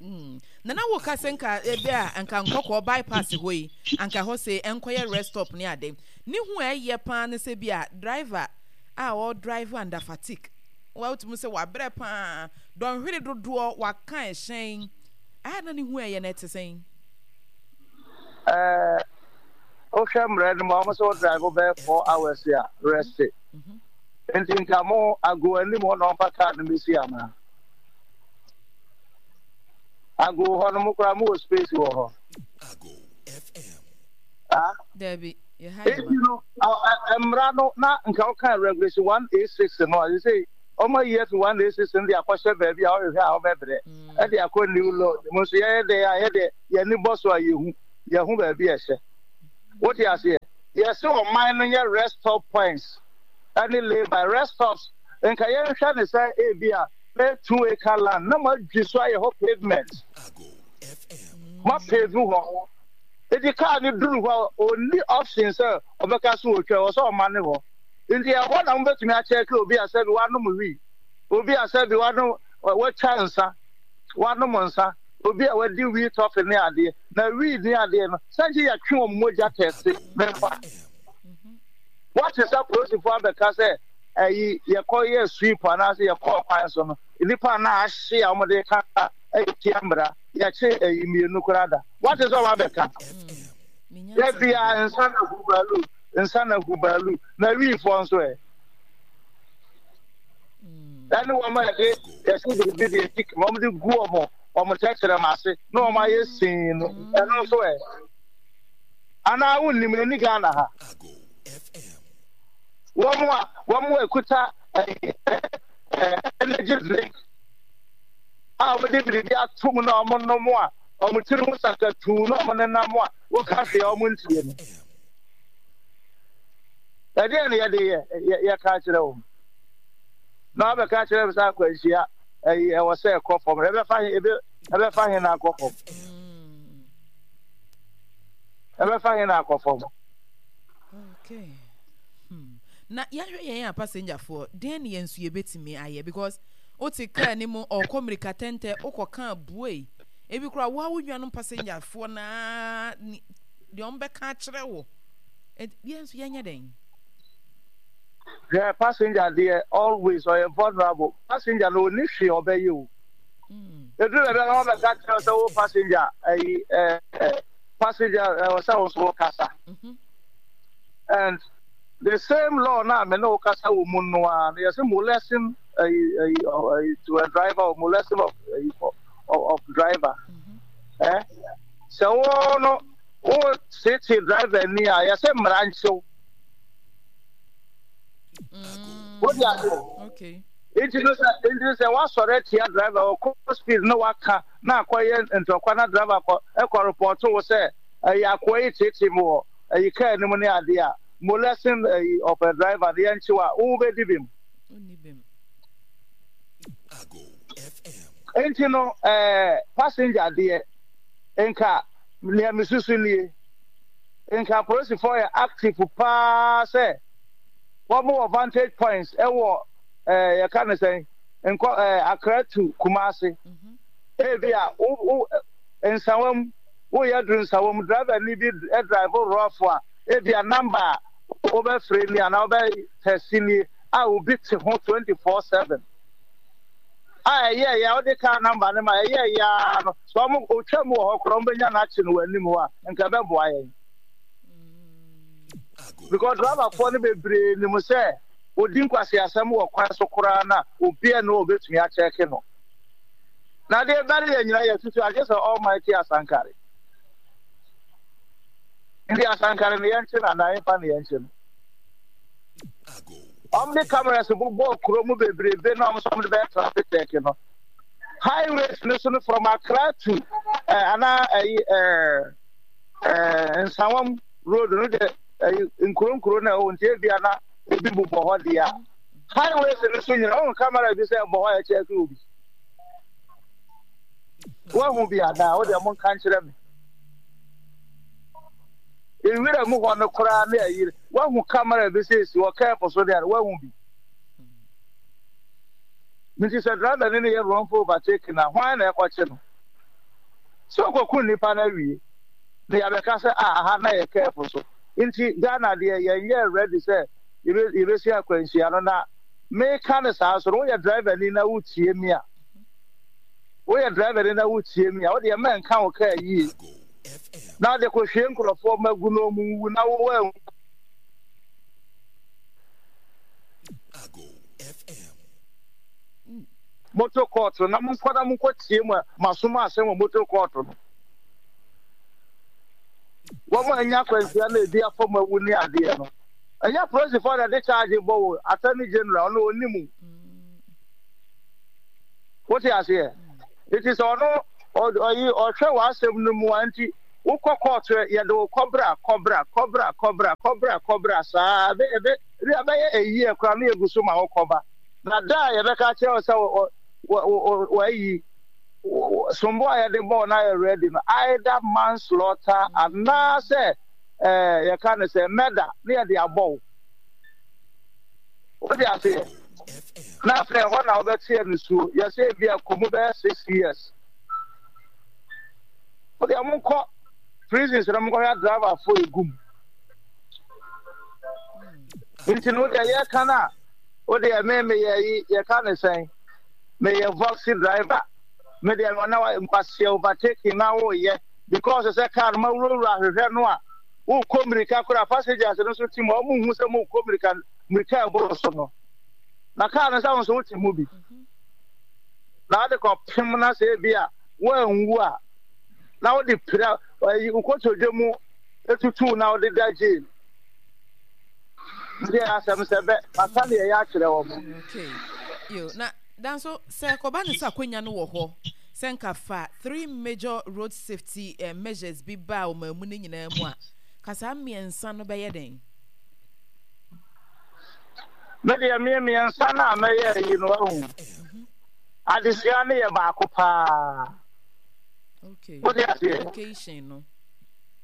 Mm. Na na woka sɛ nka ebi a nka Nkɔkɔɔ bypass hɔ yi, anka hɔ sɛ ɛnkɔyɛ rest stop ne ade. Ne ho a ɛyɛ paa ne sɛ bi a driver a ɔdrive under fatigue, wotumi sɛ wabrɛ paa, dɔnhwere dodoɔ waka ɛhyɛn a, na ne ho a ɛyɛ no ɛte sɛn? Ɛɛ, wohwɛ mmerɛ no mu a, wɔn sɛ wo drive bɛyɛ four hours a, rest. Mhm. Nti nka mo ago anim hɔ na ɔmfa car no bɛsi anaa? Ago hɔ no mo koraa mowɔ space wɔ hɔ? Ah? Dabi, yɛha yɛ Nti ma. no mmara no na nka woka regulation one eight six no a, sɛ ɔma yi afi one eight six no de akɔhyɛ baabi a ɔhwehwɛ a ɔbɛbrɛ ɛde akɔ new law mu nso, yɛyɛ dɛ a yɛde yɛni bɔ so a yɛhu. Yɛho baabi ɛhyɛ. Wote aseɛ? Yɛsɛ ɔman no nyɛ rest stop points ɛne lay-by rest stops. Nka yɛnhwɛ ne sɛ ebi a bɛyɛ two acre land na mo adwi so ayɛ hɔ pavement. Mo pave hɔ. Eti kaa no duru hɔ a, onni option sɛ ɔbɛka so otwa ɛwɔ sɛ ɔma ne hɔ. Nti ɛhɔ na mobɛtumi akyɛke obi a sɛbi wanom wii, obi a sɛbi wanom watwa nsa, wanom nsa, obi a wadi wii tɔfe ne adeɛ. Na wii ne adeɛ no, sɛ gye yɛtwe wɔn mogya tɛste memfa. Wate sɛ polisifoɔ abɛka sɛ ɛyi yɛkɔ yɛ sweep anaasɛ yɛkɔ kwan so no, nnipa na ahye a wɔde ka ɛyɛ tia mmara, yɛkye ɛyi mmienu koraa da. Wate sɛ wɔn abɛka. Yɛ nsa na hubalu, nsa na hubalu, na wiifoɔ nso ɛ. Ɛne wɔn a yɛde yɛsi biribi de eti wɔn de gu wɔn wɔn tɛkyerɛma ase na wɔn ayɛ sii no, ɛno nso ɛ. Anaa wonnim ɛni Ghana ha. Wɔn a wɔn a ekuta ɛɛ ɛɛ energy drink a wɔde biribi ato mu na wɔn nom a wɔn tiri ho sakatuu na wɔn nenam a wɔka hwee a wɔn ntie no. Ɛdeɛ na yɛde yɛ yɛka kyerɛ wɔn. Na wɔbɛka kyerɛ sɛ akwanhyia ɛyi ɛwɔ sɛ ɛkɔ fam. Ɛbɛfa he ebe ɛbɛfa he na akɔ fam. Ɛbɛfa he na akɔ fam. Okay. Hmm. Na yɛhwɛ yɛn a passengerfoɔ deɛn ne yɛn nso yɛbɛtumi ayɛ because wote kaa ne mu ɔkɔ mmirika tɛntɛ wokɔ kaa buei ebi koraa wo a wo nuanom passengerfoɔ naa deɛ wɔn bɛka akyerɛ wo yɛn nso yɛnyɛ dɛn. Hwɛ, passenger deɛ always ɔyɛ vulnerable. Passenger no ɔni hwee ɔbɛyɛ o. Ɛduru baabi a na wɔbɛka kyerɛ sɛ wo passenger ɛyi ɛɛ passenger ɛwɔ sɛ wo nso wo kasa. And the same law na me ne wo kasa wɔ mu no ara no yɛsɛ molesting ɛyi ɛyi ɛyi to a driver or molesting of ɛyi of, of driver. Eh? Sɛ wo no wo tete driver ni a yɛsɛ mmara nkyew. Wode ase? Okay. Nti no sɛ nti sɛ wasɔre atia driver ɔkɔ speed na waka na akɔyɛ ntɔkwa na driver kɔ ɛkɔ report wo sɛ ɛyɛ akoa yi tete mu wɔ ɛyi kaa no mu ne adeɛ a molesting ɛyi of a driver no yɛnkyew a wo bɛdi bim. Nti no ɛɛ passenger deɛ nka nea mesusu nie, nka polisifoɔ yɛ active paa sɛ wɔn wɔ vantage points ɛwɔ ɛɛ yɛka ne sɛn nkɔ ɛɛ Accra to Kumasi. Ebi a wo wo Nsawam woyɛ duru Nsawam driver ni bi drive rough a ebi a number a wobɛfrɛ ni anaa wobɛ text ni a obi te ho twenty four seven a ɛyɛ yɛ wode car number ne ma ɛyɛ yɛ no sɛ ɔmo otwa mu wɔ hɔ koraa ɔmo bɛnya n'akyi no wɔ anim hɔ a nka ɛbɛboa yɛn because driverfoɔ no bebree nim sɛ odi nkwasi asɛm wɔ kwan so koraa na obiara no obetumi akyɛke no na deɛ bɛre yɛ nyina yɛ tutu agye sɛ Almighty Asankare nti Asankare no yɛnkye no anaa yɛmfa no yɛnkye no. Ɔmo de cameras bobɔ kuro mu bebrebe na ɔmo nso ɔmo de bɛyɛ traffic check no highways no so no from Accra to eh, anaa ɛyi eh, eh, Nsawam road no de ɛyi nkuro nkuro na ɛwɔ nti ebia na ebi bobɔ hɔ deɛ a highways no so nyina ɔmo camera bi sɛ ɛbɔ hɔ a ɛkyɛ ɛkɛ obi wahu bi anaa wo deɛ mo nka nkyerɛ me ewira mu hɔ no koraa ne ayiri wahu camera bi sɛ esi hɔ kɛɛpo so deɛ wahu bi nti sɛ driver ne ne yɛ wrongful overtake na hwan na ɛkɔkye no sɛ ɔkɔku nnipa no awie na yɛabɛka sɛ a aha na yɛ kɛɛpo so nti Ghana deɛ yɛnyɛ ready sɛ yɛbɛsi akwanhyia no na meka no saa so no woyɛ driver ni na wotie mi a woyɛ driver ni na wotie mi a wodeɛ mɛnka wo kaa yie na wode kɔhwie nkurɔfoɔ ma gu no ɔmu wu na wowɔ ahu. Motor court no na monkɔ na monkɔ tie mu a masom asɛm wɔ motor court no wɔn a anya akwanhyia na ebi afa mu awu ne adeɛ no ɛnyɛ polisifoɔ na ɛde charge bɔ wo attorney general ɔno ɔni mu wote aseɛ nti sɛ ɔno ɔyi ɔhwɛ w'asɛm no mu a nti Wokɔ court, yɛde wo kɔbra kɔbra kɔbra kɔbra kɔbra kɔbra saa ebe ebe ebi abɛyɛ eyi ɛkora no yɛgu so ma wo kɔba. Na da a yɛbɛka kyerɛ wo sɛ wɔ wɔ wɔayi sombo a yɛde bɔɔ na yɛ ready no, either manslaughter anaasɛ ɛɛ yɛka no sɛ murder ne yɛde abɔ wo. Wode aseɛ na afei ɛhɔ na wobɛteɛ no suo. Yɛsɛ ebi a kɔ mu bɛyɛ six years. Wode monkɔ prisons na monkɔhwɛ driverfoɔ egu mu. Nti no wodeɛ yɛka no a, wodeɛ me meyɛ yi, yɛka ne sɛn, meyɛ voxy driver. Me deɛ na nkwaseɛ overtaking na woyɛ because sɛ car no ma wurawura ahwehwɛ no a, wokɔ mmirika koraa, passengers no nso te mu a, wɔn nhu sɛ mokɔ mmirika mmirika ɛboro so no, na car no sɛ wo nso wote mu bi na wode kɔpem na sɛ ebi a woanwu a na wode pira ɛyi nkotodwe mu etutu na wode da jail. Nti asɛm sɛ bɛ maka deɛ ɛyɛ akyerɛ wɔn. Okay. Yo, na danso sɛ kɔba ne sɛ akwanya no wɔ hɔ sɛ nka fa three major road safety eh, measures bi ba a ɔman mu no nyinaa mu a, ka saa mmiɛnsa no bɛyɛ dɛn? Me deɛ me mmiɛnsa no a mɛyɛ yi no ahu. Adesua no yɛ baako paa. Okay. Wode aseɛ? Education no.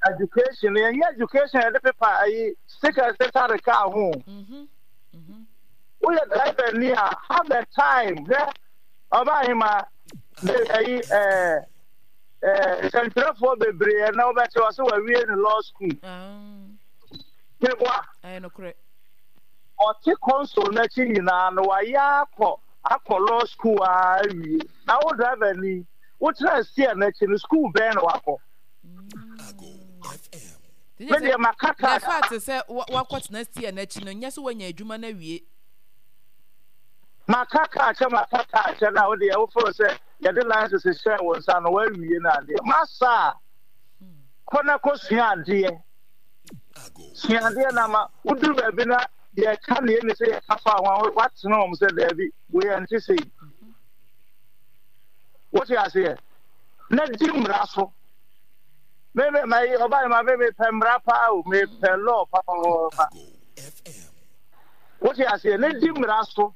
Education no, yɛnyɛ education yɛde pepa ayi stickers de tare kaa ho. Mhm. Mhm. Woyɛ driver ni a, have a time. Hwɛ, ɔbaa ahema de ayi ɛɛ ɛɛ nsɛntwerɛfoɔ bebree na wobɛte wɔ sɛ wawie ne law school. Ah. Meboa. Ɛyɛ nokorɛ. Ɔte console n'akyi nyinaa no wayɛ akɔ akɔ law school a awie. Na wo driver ni, wotena steer n'akyi no, school bɛn na wakɔ? Me deɛ maka kaa. The fact sɛ wakɔtena steer n'akyi no nyɛ sɛ wanya adwuma no awie. Maka kaa kyɛ maka kaa kyɛ na wo deɛ woforo sɛ yɛde license hyɛ wo nsa no wawie no adeɛ. Masa a, kɔ na kɔsua adeɛ. Sua adeɛ na ma woduru baabi na yɛka neɛ ne sɛ yɛka fa ho a woatena wɔm sɛ daabi wei ɛnte sei. Wote aseɛ? Na di mmara so. Me me ma yi ɔba yi ma me mepɛ mmara paa o, mepɛ law paa. Wote aseɛ? Na di mmara so.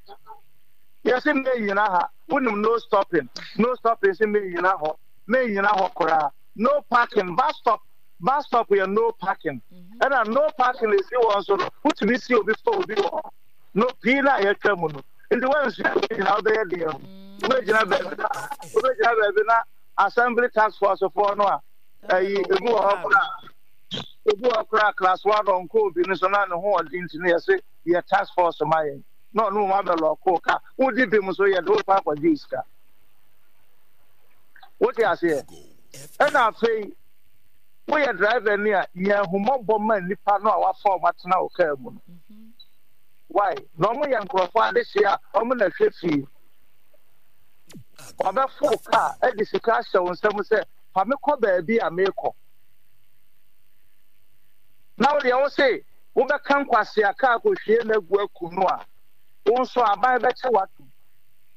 Yɛse mennyina ha, wonim no stopping, no stopping se mennyina hɔ, mennyina hɔ koraa. No parking, bus stop, bus stop yɛ no parking. Ɛna no parking esi hɔ nso no, wotumi si obi fa obi wɔ hɔ. No pii na yɛtwa mu no. Nti woansua wei nyinaa wobɛyɛ deɛ ho. Wobɛgyina baabi na wobɛgyina baabi na assembly task force foɔ no a ɛyi ebi wɔ hɔ koraa ebi wɔ hɔ koraa class one ɔnkɔ obi no so na ne ho ɔden nti no yɛse yɛ task force ma yɛn na ɔno mu abɛlɔko ka wodi bi mu so yɛde wokɔ akɔgye sika. Wote aseɛ? Ɛna afei woyɛ driver ni a nya ahummɔbɔ ma nnipa no a wafa wɔn atena wo kaa mu no. Why? Na wɔn yɛ nkurɔfoɔ adehyeɛ a wɔn na hwɛ fie. Wɔbɛfo kaa de sika ahyɛ wo nsam sɛ fa me kɔ baabi a merekɔ. Na wo deɛ wo se wobɛka nkwasea kaa kɔhwie no agu aku no a, wo nso aban bɛkyɛ w'atom.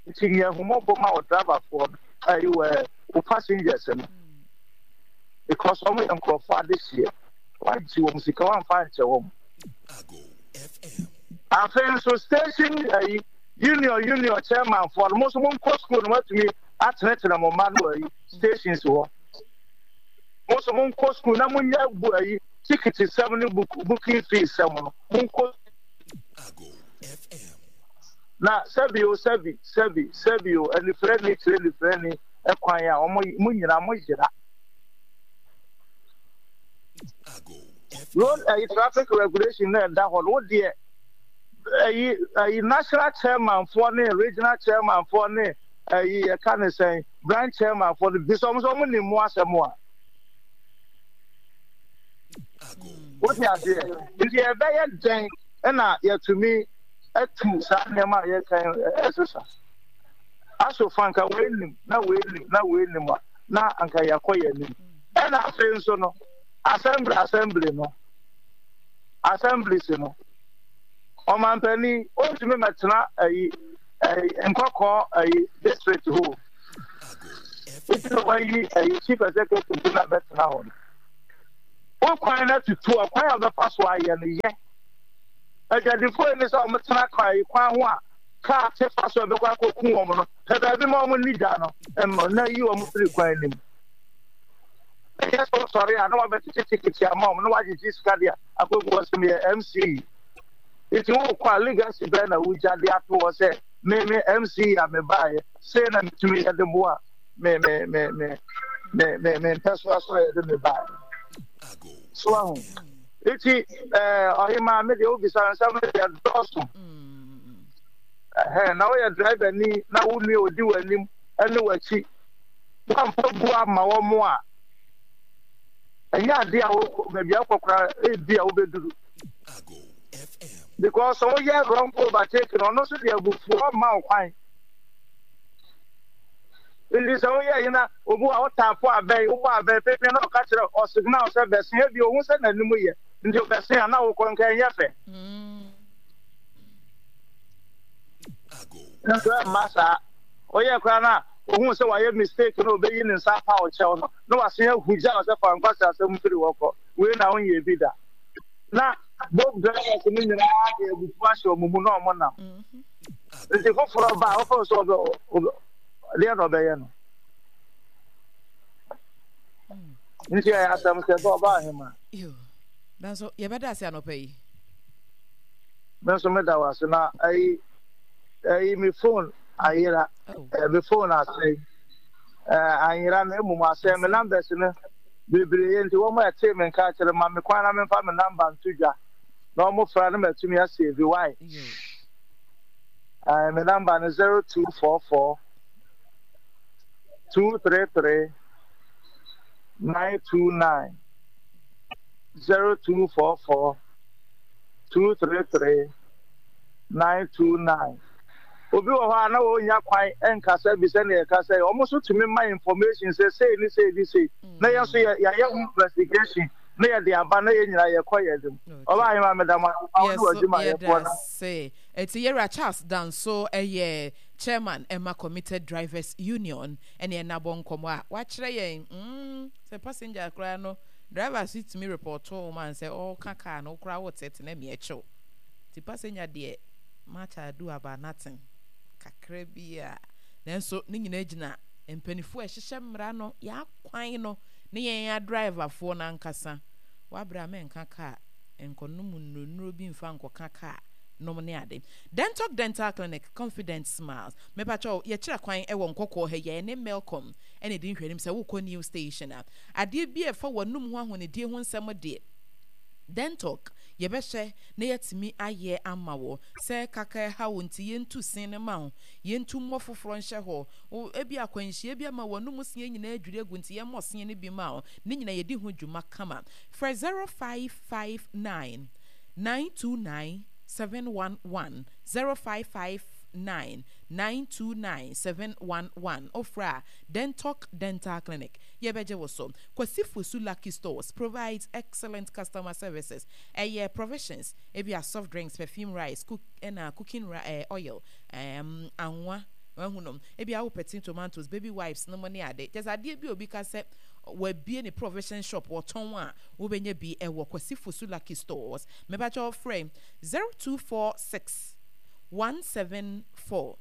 Nti nya ahummɔbɔ ma wo driverfoɔ no, ayi wɔ wo passengers no. Because wɔn yɛ nkurɔfoɔ adehyeɛ. Wagye wɔn sika wamfa ankyɛ wɔn. Afei nso station ayi union union chairman foɔ no mo nso monkɔ school no moatumi atenetene mo mma no ayi stations hɔ. Mo nso monkɔ school na monyɛ bu ayi ticket sɛm ne book booking fee sɛm no monkɔ. Na sɛbi o sɛbi sɛbi sɛbi o anifirani kyerɛ nifirani kwan a wɔn mo nyinaa mo yera. Road ɛyi traffic regulation na ɛda hɔ no wo deɛ ɛyi ɛyi national chairman foɔ ne regional chairman foɔ ne ɛyi yɛka ne sɛn branch chairman foɔ no bi sɛ wɔn nso wɔn nim mu asɛm a. Wote aseɛ? Nti yɛbɛyɛ dɛn ɛna yɛtumi atu saa nneɛma a yɛka ɛsesa? Aso fa nka wei nim na wei nim na wei nim a na anka yɛakɔ yɛn anim. Ɛna afei nso no assembly assembly no assemblies no ɔmampanin ɔntumi mɛtena ayi ayi nkɔkɔɔ ayi district hɔ nti na wayi ayi chief executive bi na bɛtena hɔ no. Wo kwan no atutu a, kwan a wobɛfa so ayɛ no, yɛ. Adwadifoɔ yi ne sɛ wɔtena kwan yi kwan ho a kaa te fa so a ɛbɛkɔ akɔku wɔn no, pɛ baabi ma wɔn nni dwa no mma na yi wɔn firi kwan no mu. Ɛnyɛ sɛ wosɔre a na wabɛtete tikiti ama wɔn na wagyegye sika de akɔgu hɔ sɛ meyɛ M C. Nti wokɔ a, legacy bɛn na wogya de ato hɔ sɛ me me M C a mebaeɛ sei na metumi yɛ de boa me me me me me me me mpɛsoa so a yɛde me baeɛ so ahu? Nti ɛɛ ɔhemaa, me deɛ wobisa nsɛm no deɛ dɔɔso. Ɛhɛn na woyɛ driver ni na wo nua odi w'anim ɛne w'akyi, woamfa bu ama wɔn a, ɛnyɛ adeɛ a wokɔ baabi a wokɔ koraa ebi a wobɛduru, because woyɛ wrong overtake no, ɔno nso de abufuo ma wo kwan. Nti sɛ woyɛ yi na obi a wotaafo abɛn, wobɔ abɛn pepe na ɔka kyerɛ ɔsignal sɛ bɛsen, ebi ohun sɛ n'anim yɛ nti ɔbɛsen a na wokɔ nka ɛnyɛ fɛ. Nso ɛmma saa. Woyɛ koraa na ohun sɛ wayɛ mistake na obeyi ne nsa apa wo kyɛw no, na wasen ahu gya wo sɛ fa nkwasi asɛm firi hɔ kɔ. Wei na wonyɛ bi da. Na both drivers no nyinaa de abufuo ahyɛ wɔn mu na wɔn nam. Nti foforɔ ba a, wɔfɔ sɛ ɔbɛ ɔbɛ deɛ na ɔbɛyɛ no. Nti ɛyɛ asɛm sɛ bɛ ɔba ahema. Yo, nanso yɛbɛda ase anɔpa yi. Me nso meda wo ase. Na ayi ayi me phone ayera. Oh. Eh, me phone asɛe. Eh, anyera na mmom asɛe. Me numbers no bebree, nti wɔn a ɛtee me nka kyerɛ ma me kwan na memfa me number nto dwa na wɔn fra no matumi asave why. Yo. Eh, me number no zero two four four two three three nine two nine, zero two four four two three three nine two nine. Obi wɔ hɔ a na wɔnya kwan nkasa bi sɛnea yɛkasa yi, wɔn nso tumi ma information sɛ sei ne sei ne sei, na yɛn nso yɛ yɛayɛ ho investigation na yɛde aba na yɛn nyinaa yɛkɔ yɛn anim. Ɔbaa ahema, meda mo ase pa wo ne Yɛso w'adwumayɛfoɔ yɛda na ase. Ɛti yɛwura Charles Danso ɛyɛ chairman ɛma Committed Drivers Union, ɛne ɛna bɔ nkɔmɔ a wakyerɛ yɛn mm, sɛ passenger koraa no, driver so tumi report wo ma sɛ ɔka car no koraa wotete na meɛ kyew. Nti passenger deɛ, much ado about nothing kakra bi a, nanso ne nyinaa gyina mpanimfoɔ a ɛhyehyɛ mmara no, yɛakwan no ne yɛn adriverfoɔ no ankasa. Wabrɛ a, mɛnka car nkɔnom nnuro bi mfa nkɔka car nom ne ade. Dentalk Dental Clinic, confident smiles. Mepakyɛw, yɛkyerɛ kwan wɔ Nkɔkɔɔ ha yi, ne Melcom ɛna ɛdi nhwɛnim sɛ wokɔ new station a, adeɛ bi a ɛfa w'anum ho ahonidie ho nsɛm deɛ, Dentalk yɛbɛhyɛ na yɛatumi ayɛ ama wo. Sɛ kaka ɛha wo nti, yɛntu sen no ma wo, yɛntu mmɔ foforɔ nhyɛ hɔ wo. Ebi akwanhyia bi ama w'anum seɛ nyinaa adwiri agu nti, yɛmmɔ seɛ no bi ma wo. Ne nyinaa yɛdi ho dwuma kama. Frɛ zero five five nine nine two nine seven one one, zero five five nine nine two nine seven one one. Ofra a, Dentalk Dental Clinic, yɛbɛgye wo so. Kwasi Fosu Lucky Stores provides excellent customer services. Ɛyɛ provisions, ebi a soft drinks, perfume rice, cook ɛna cooking eh, oil, um, anwa wahu no, ebi a wopɛ tin tomatoes, baby wipes no mo ne ade. Kyɛ sɛ adeɛ bi a obi ka sɛ wabie ne provision shop wɔtɔn a, wobɛnya bi ɛwɔ Kwasi Fosu Lucky Stores. Mepakyɛ, frɛ zero two four six one seven four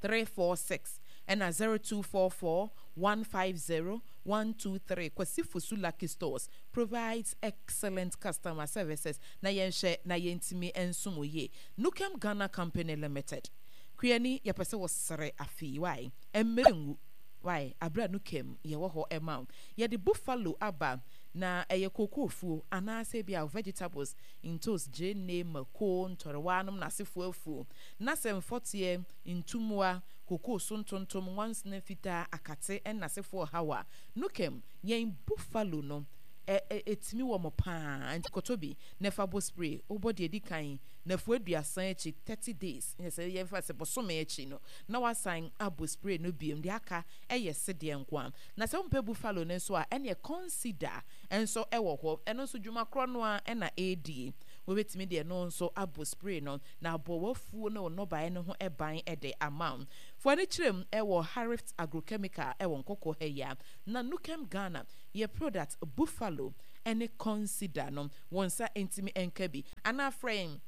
three four six ɛna zero two four four one five zero one two three. Kwasi Fosu Lucky Stores provides excellent customer services na yɛnhwɛ na yɛntumi nsom yie. Nukem Ghana Company Limited, kuani, yɛpɛ sɛ wɔsere afei wae mmerɛ ngu wae abere a Nukem yɛwɔ hɔ ɛma wo. Yɛde buffalo aba na ɛyɛ kookoofuo anaasɛ bi a vegetables, ntos, gyeene, mako, ntɔrewa nom n'asefoɔ afuo, na sɛ mfɔteɛ, ntummoa, kokoo so ntontom, nwansena fitaa, akate ɛn'asefoɔ haw a, Nukem yɛn buffalo no ɛtumi wɔ mo paa. Nti kɔtɔ bi na ɛfa bɔ spray. Wobɔ deɛ di kan nafu aduasa akyi, thirty days, nyɛ sɛ yɛmfa sɛ bɔsome akyi no, na wasan abɔ spray no biom. Deɛ aka ɛyɛ sedeɛ nko a. Na sɛ wompɛ buffalo no nso a, ɛneɛ consider nso ɛwɔ hɔ. Ɛno nso dwuma korɔ no a ɛna ɛredie. Wobɛtumi deɛ no nso abɔ spray no na abɔ w'afuo ne wo nnɔbaeɛ no ho ban de ama wo. Fo ani kyerɛ mu ɛwɔ Harift Agrochemical ɛwɔ Nkɔkɔ ha yi a. Na Nukem Ghana yɛ product buffalo ɛne Consider no wɔn nsa ntumi nka bi anaa frɛ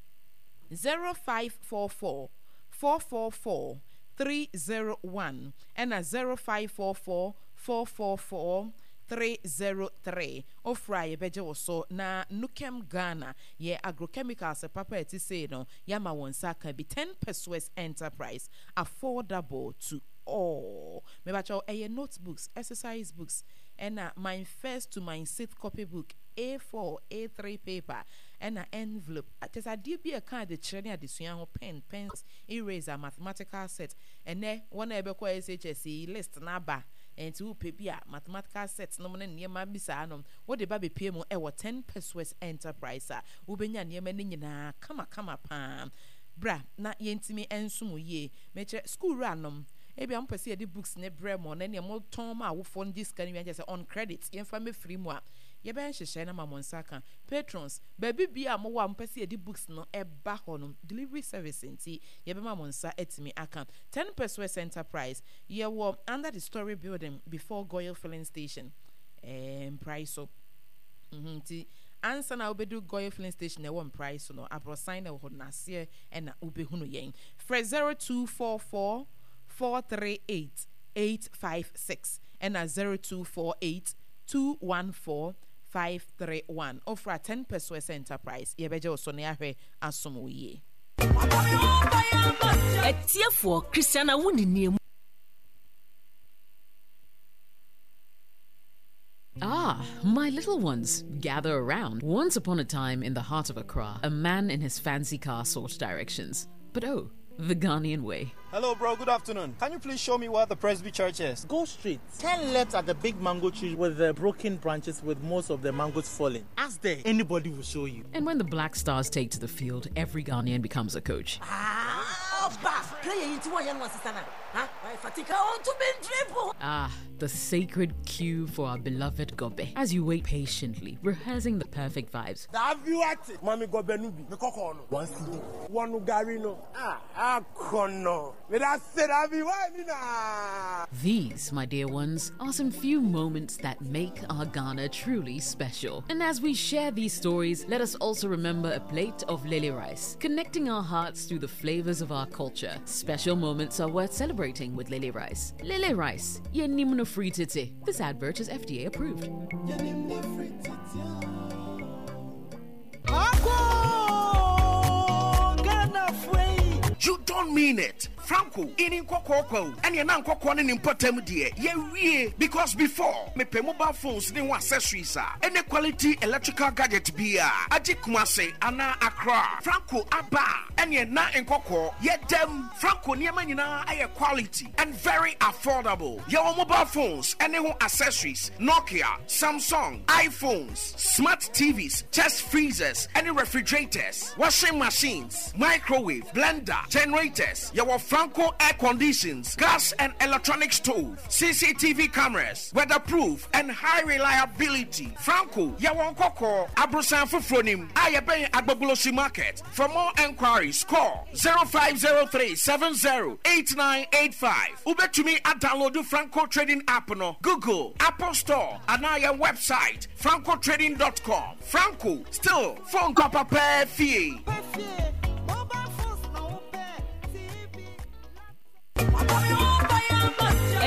zero five four four four four four three zero one ɛna zero five four four four four four three zero three ofura a yɛbɛgye wo so na Nukem Ghana yɛ agrochemicals papa a ɛte sei no yɛama wɔn nsa aka bi ten pesewas enterprise affordable to all mebakyɛw ɛyɛ notebooks exercise books ɛna my first to my sixth copy book A four A three paper ɛna envelope kyɛ sɛ adeɛ bi a ɛka adekyerɛ ne adesua ho pen pencils eraser mathematical set ɛnɛ wɔn a ɛbɛkɔ S H S yi list n'aba nti wopɛ bi a mathematical set nom ne nneɛma bi saa nom wode ba bepie mu ɛwɔ ten pesewas enterprise a wobɛnya nneɛma no nyinaa kamakama paa bra na yɛntumi nsom yie mekyerɛ school wura nom ebi a mopɛ sɛ yɛde books ne brɛ mo na nea motɔn ma awofoɔ no gye sika no wie kyerɛ sɛ on credit yɛmfa mɛfiri mu a yɛbɛyɛ nhyehyɛe no ma mo nsa ka patrons baabi bia a mowɔ a mopɛ sɛ yɛde books no ɛba hɔ no delivery service nti yɛbɛma mo nsa atumi aka ten pesewas enterprise yɛwɔ under the story building before Goil filling station ɛɛ Mprae so nti ansa na wobɛdu Goil filling station ɛwɔ Mprae so no aborɔsan na ɛwɔ hɔ n'aseɛ ɛna wobɛhunu yɛn frɛ zero two four four four three eight eight five six ɛna zero two four eight two one four five three one ofra ten pesewas enterprise yɛbɛgye wo so ne ahwɛ asom wo yie. Atiefoɔ Christiana wo ne Ah, my little ones, gather around. Once upon a time in the heart of Accra, a man in his fancy car sought directions. But oh, the Ghanaian way. Hello, bro. Good afternoon. Can you please show me where the Presby Church is? Go straight. Turn left at the big mango tree with the broken branches with most of the mangoes falling. Ask there. Anybody will show you. And when the Black Stars take to the field, every Ghanaian becomes a coach. Ah, Ah, the sacred queue for our beloved Gobe. As you wait patiently, rehearsing the perfect vibes. Mami gobe nubi. One cedi. One gari no. Ah, ah, kono. These, my dear ones, are some few moments that make our Ghana truly special. And as we share these stories, let us also remember a plate of lele rice, connecting our hearts through the flavors of our culture. Special moments are worth celebrating with lele rice. Lele rice, yenimno free titi. This advert is F D A approved. You don't mean it. Franco, in nkɔkɔɔkɔ ɛne ɛna nkɔkɔɔ ne ne mpɔtam deɛ yɛwie because before mepɛ mobile phones ne ho accessories a ɛne quality electrical gadget bi a agye Kumase anaa Accra Franco aba a ɛne ɛna nkɔkɔɔ yɛdam Franco nneɛma nyinaa ɛyɛ quality and very affordable. Yɛwɔ mobile phones ɛne ho accessories Nokia, Samsung, iPhones, smart T Vs, chest freezers ɛne refrigerators, washing machines, microwave, blender, generators. Yɛwɔ Franco air conditions, gas and electronic stove, C C T V cameras, weatherproof and high reliability. Franco, yɛwɔ nkɔkɔɔ aborosan foforɔ nim a yɛbɛn Agbogbloshie market. For more enquiries, call zero five zero three seven zero eight nine eight five. Wobɛtumi adownload Franco Trading app no Google, Apple Store anaa yɛn website francotrading dot com. Franco, still phone papa pɛɛ fie.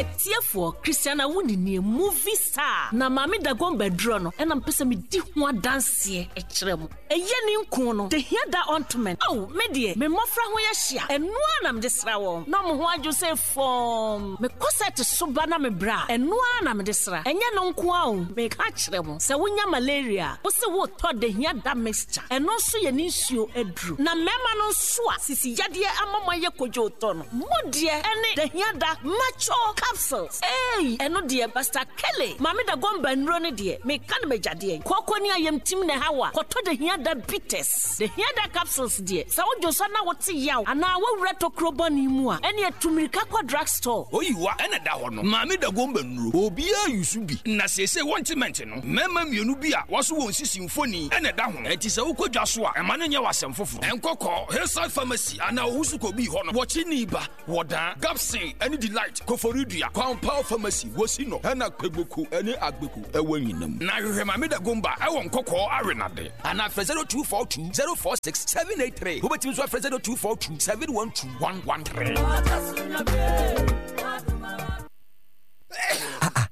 Atiefoɔ Christiana wo ne movie star na maame Dagomba duro no ɛna mpɛ sɛ medi ho adanseɛ ɛkyerɛ mo ɛyɛ ne nko no de hia da ointment aw me deɛ me mmɔfra ho yɛ hyia ɛnoa na mede sra wɔn na ɔmo ho adwo sɛ fɔm mekɔ sɛ te so ba na mebrɛ a ɛnoa na mede sra ɛnyɛ no nko a o meka kyerɛ mo sɛ wonya malaria wo se wotɔ de hia da mixture ɛno nso yɛ ne nsuo aduru na mmarima no nso a sisi yadeɛ ama mo ayɛ kodwo tɔ no mo deɛ ɛne de hia da macho capsules ei ɛno deɛ Basta Kele maame da gɔmba nnuro no deɛ meka no magyadeɛ kɔkɔ ne ayamtim na ɛha wa kɔtɔ de hia da bitters de hia da capsules deɛ sɛ wodwo so na wote yaw anaa woawura tokuro bɔne mu a ɛne atumirika kɔ drug store. Oyiwa ɛna da hɔ no maame da gomba nnuro obiara yusu bi na seesei wɔnte mɛnte no mmarima mmienu bi a wɔso wɔn sisi mfoni ɛna ɛda ho ɛnti sɛ wokɔ dwa so a ɛma no nyɛ w'asɛm foforɔ ɛnkɔkɔ Hillside Pharmacy anaa Owusu Kɔbii hɔ no wɔkye nii ba wɔdaa Gapsin ɛne Delight. Shoprite, Koforidua, Kwampaw Pharmacy, wosi no ɛna Kpegboku ɛne Agbeku ɛwɔ nyinam. Na hwehwɛ Maame Dagomba ɛwɔ Nkɔkɔɔ Arenade anaa frɛ zero two four two zero four six seven eight three. Wobɛtumi nso afrɛ zero two four two seven one two one one three.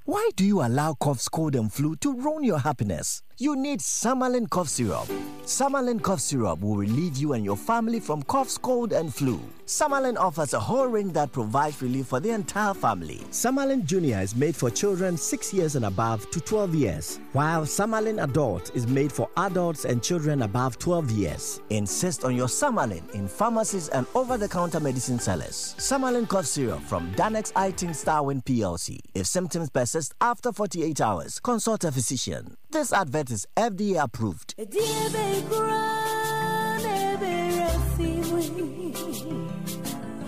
Why do you allow coughs, cold, and flu to ruin your happiness? You need Samalin cough syrup. Samalin cough syrup will relieve you and your family from coughs, cold, and flu. Samalin offers a whole range that provides relief for the entire family. Samalin Junior is made for children six years and above to twelve years, while Samalin Adult is made for adults and children above twelve years. Insist on your Samalin in pharmacies and over-the-counter medicine sellers. Samalin cough syrup from Danex Itin Starwin P L C. If symptoms persist after forty-eight hours, consult a physician. This advert is F D A approved.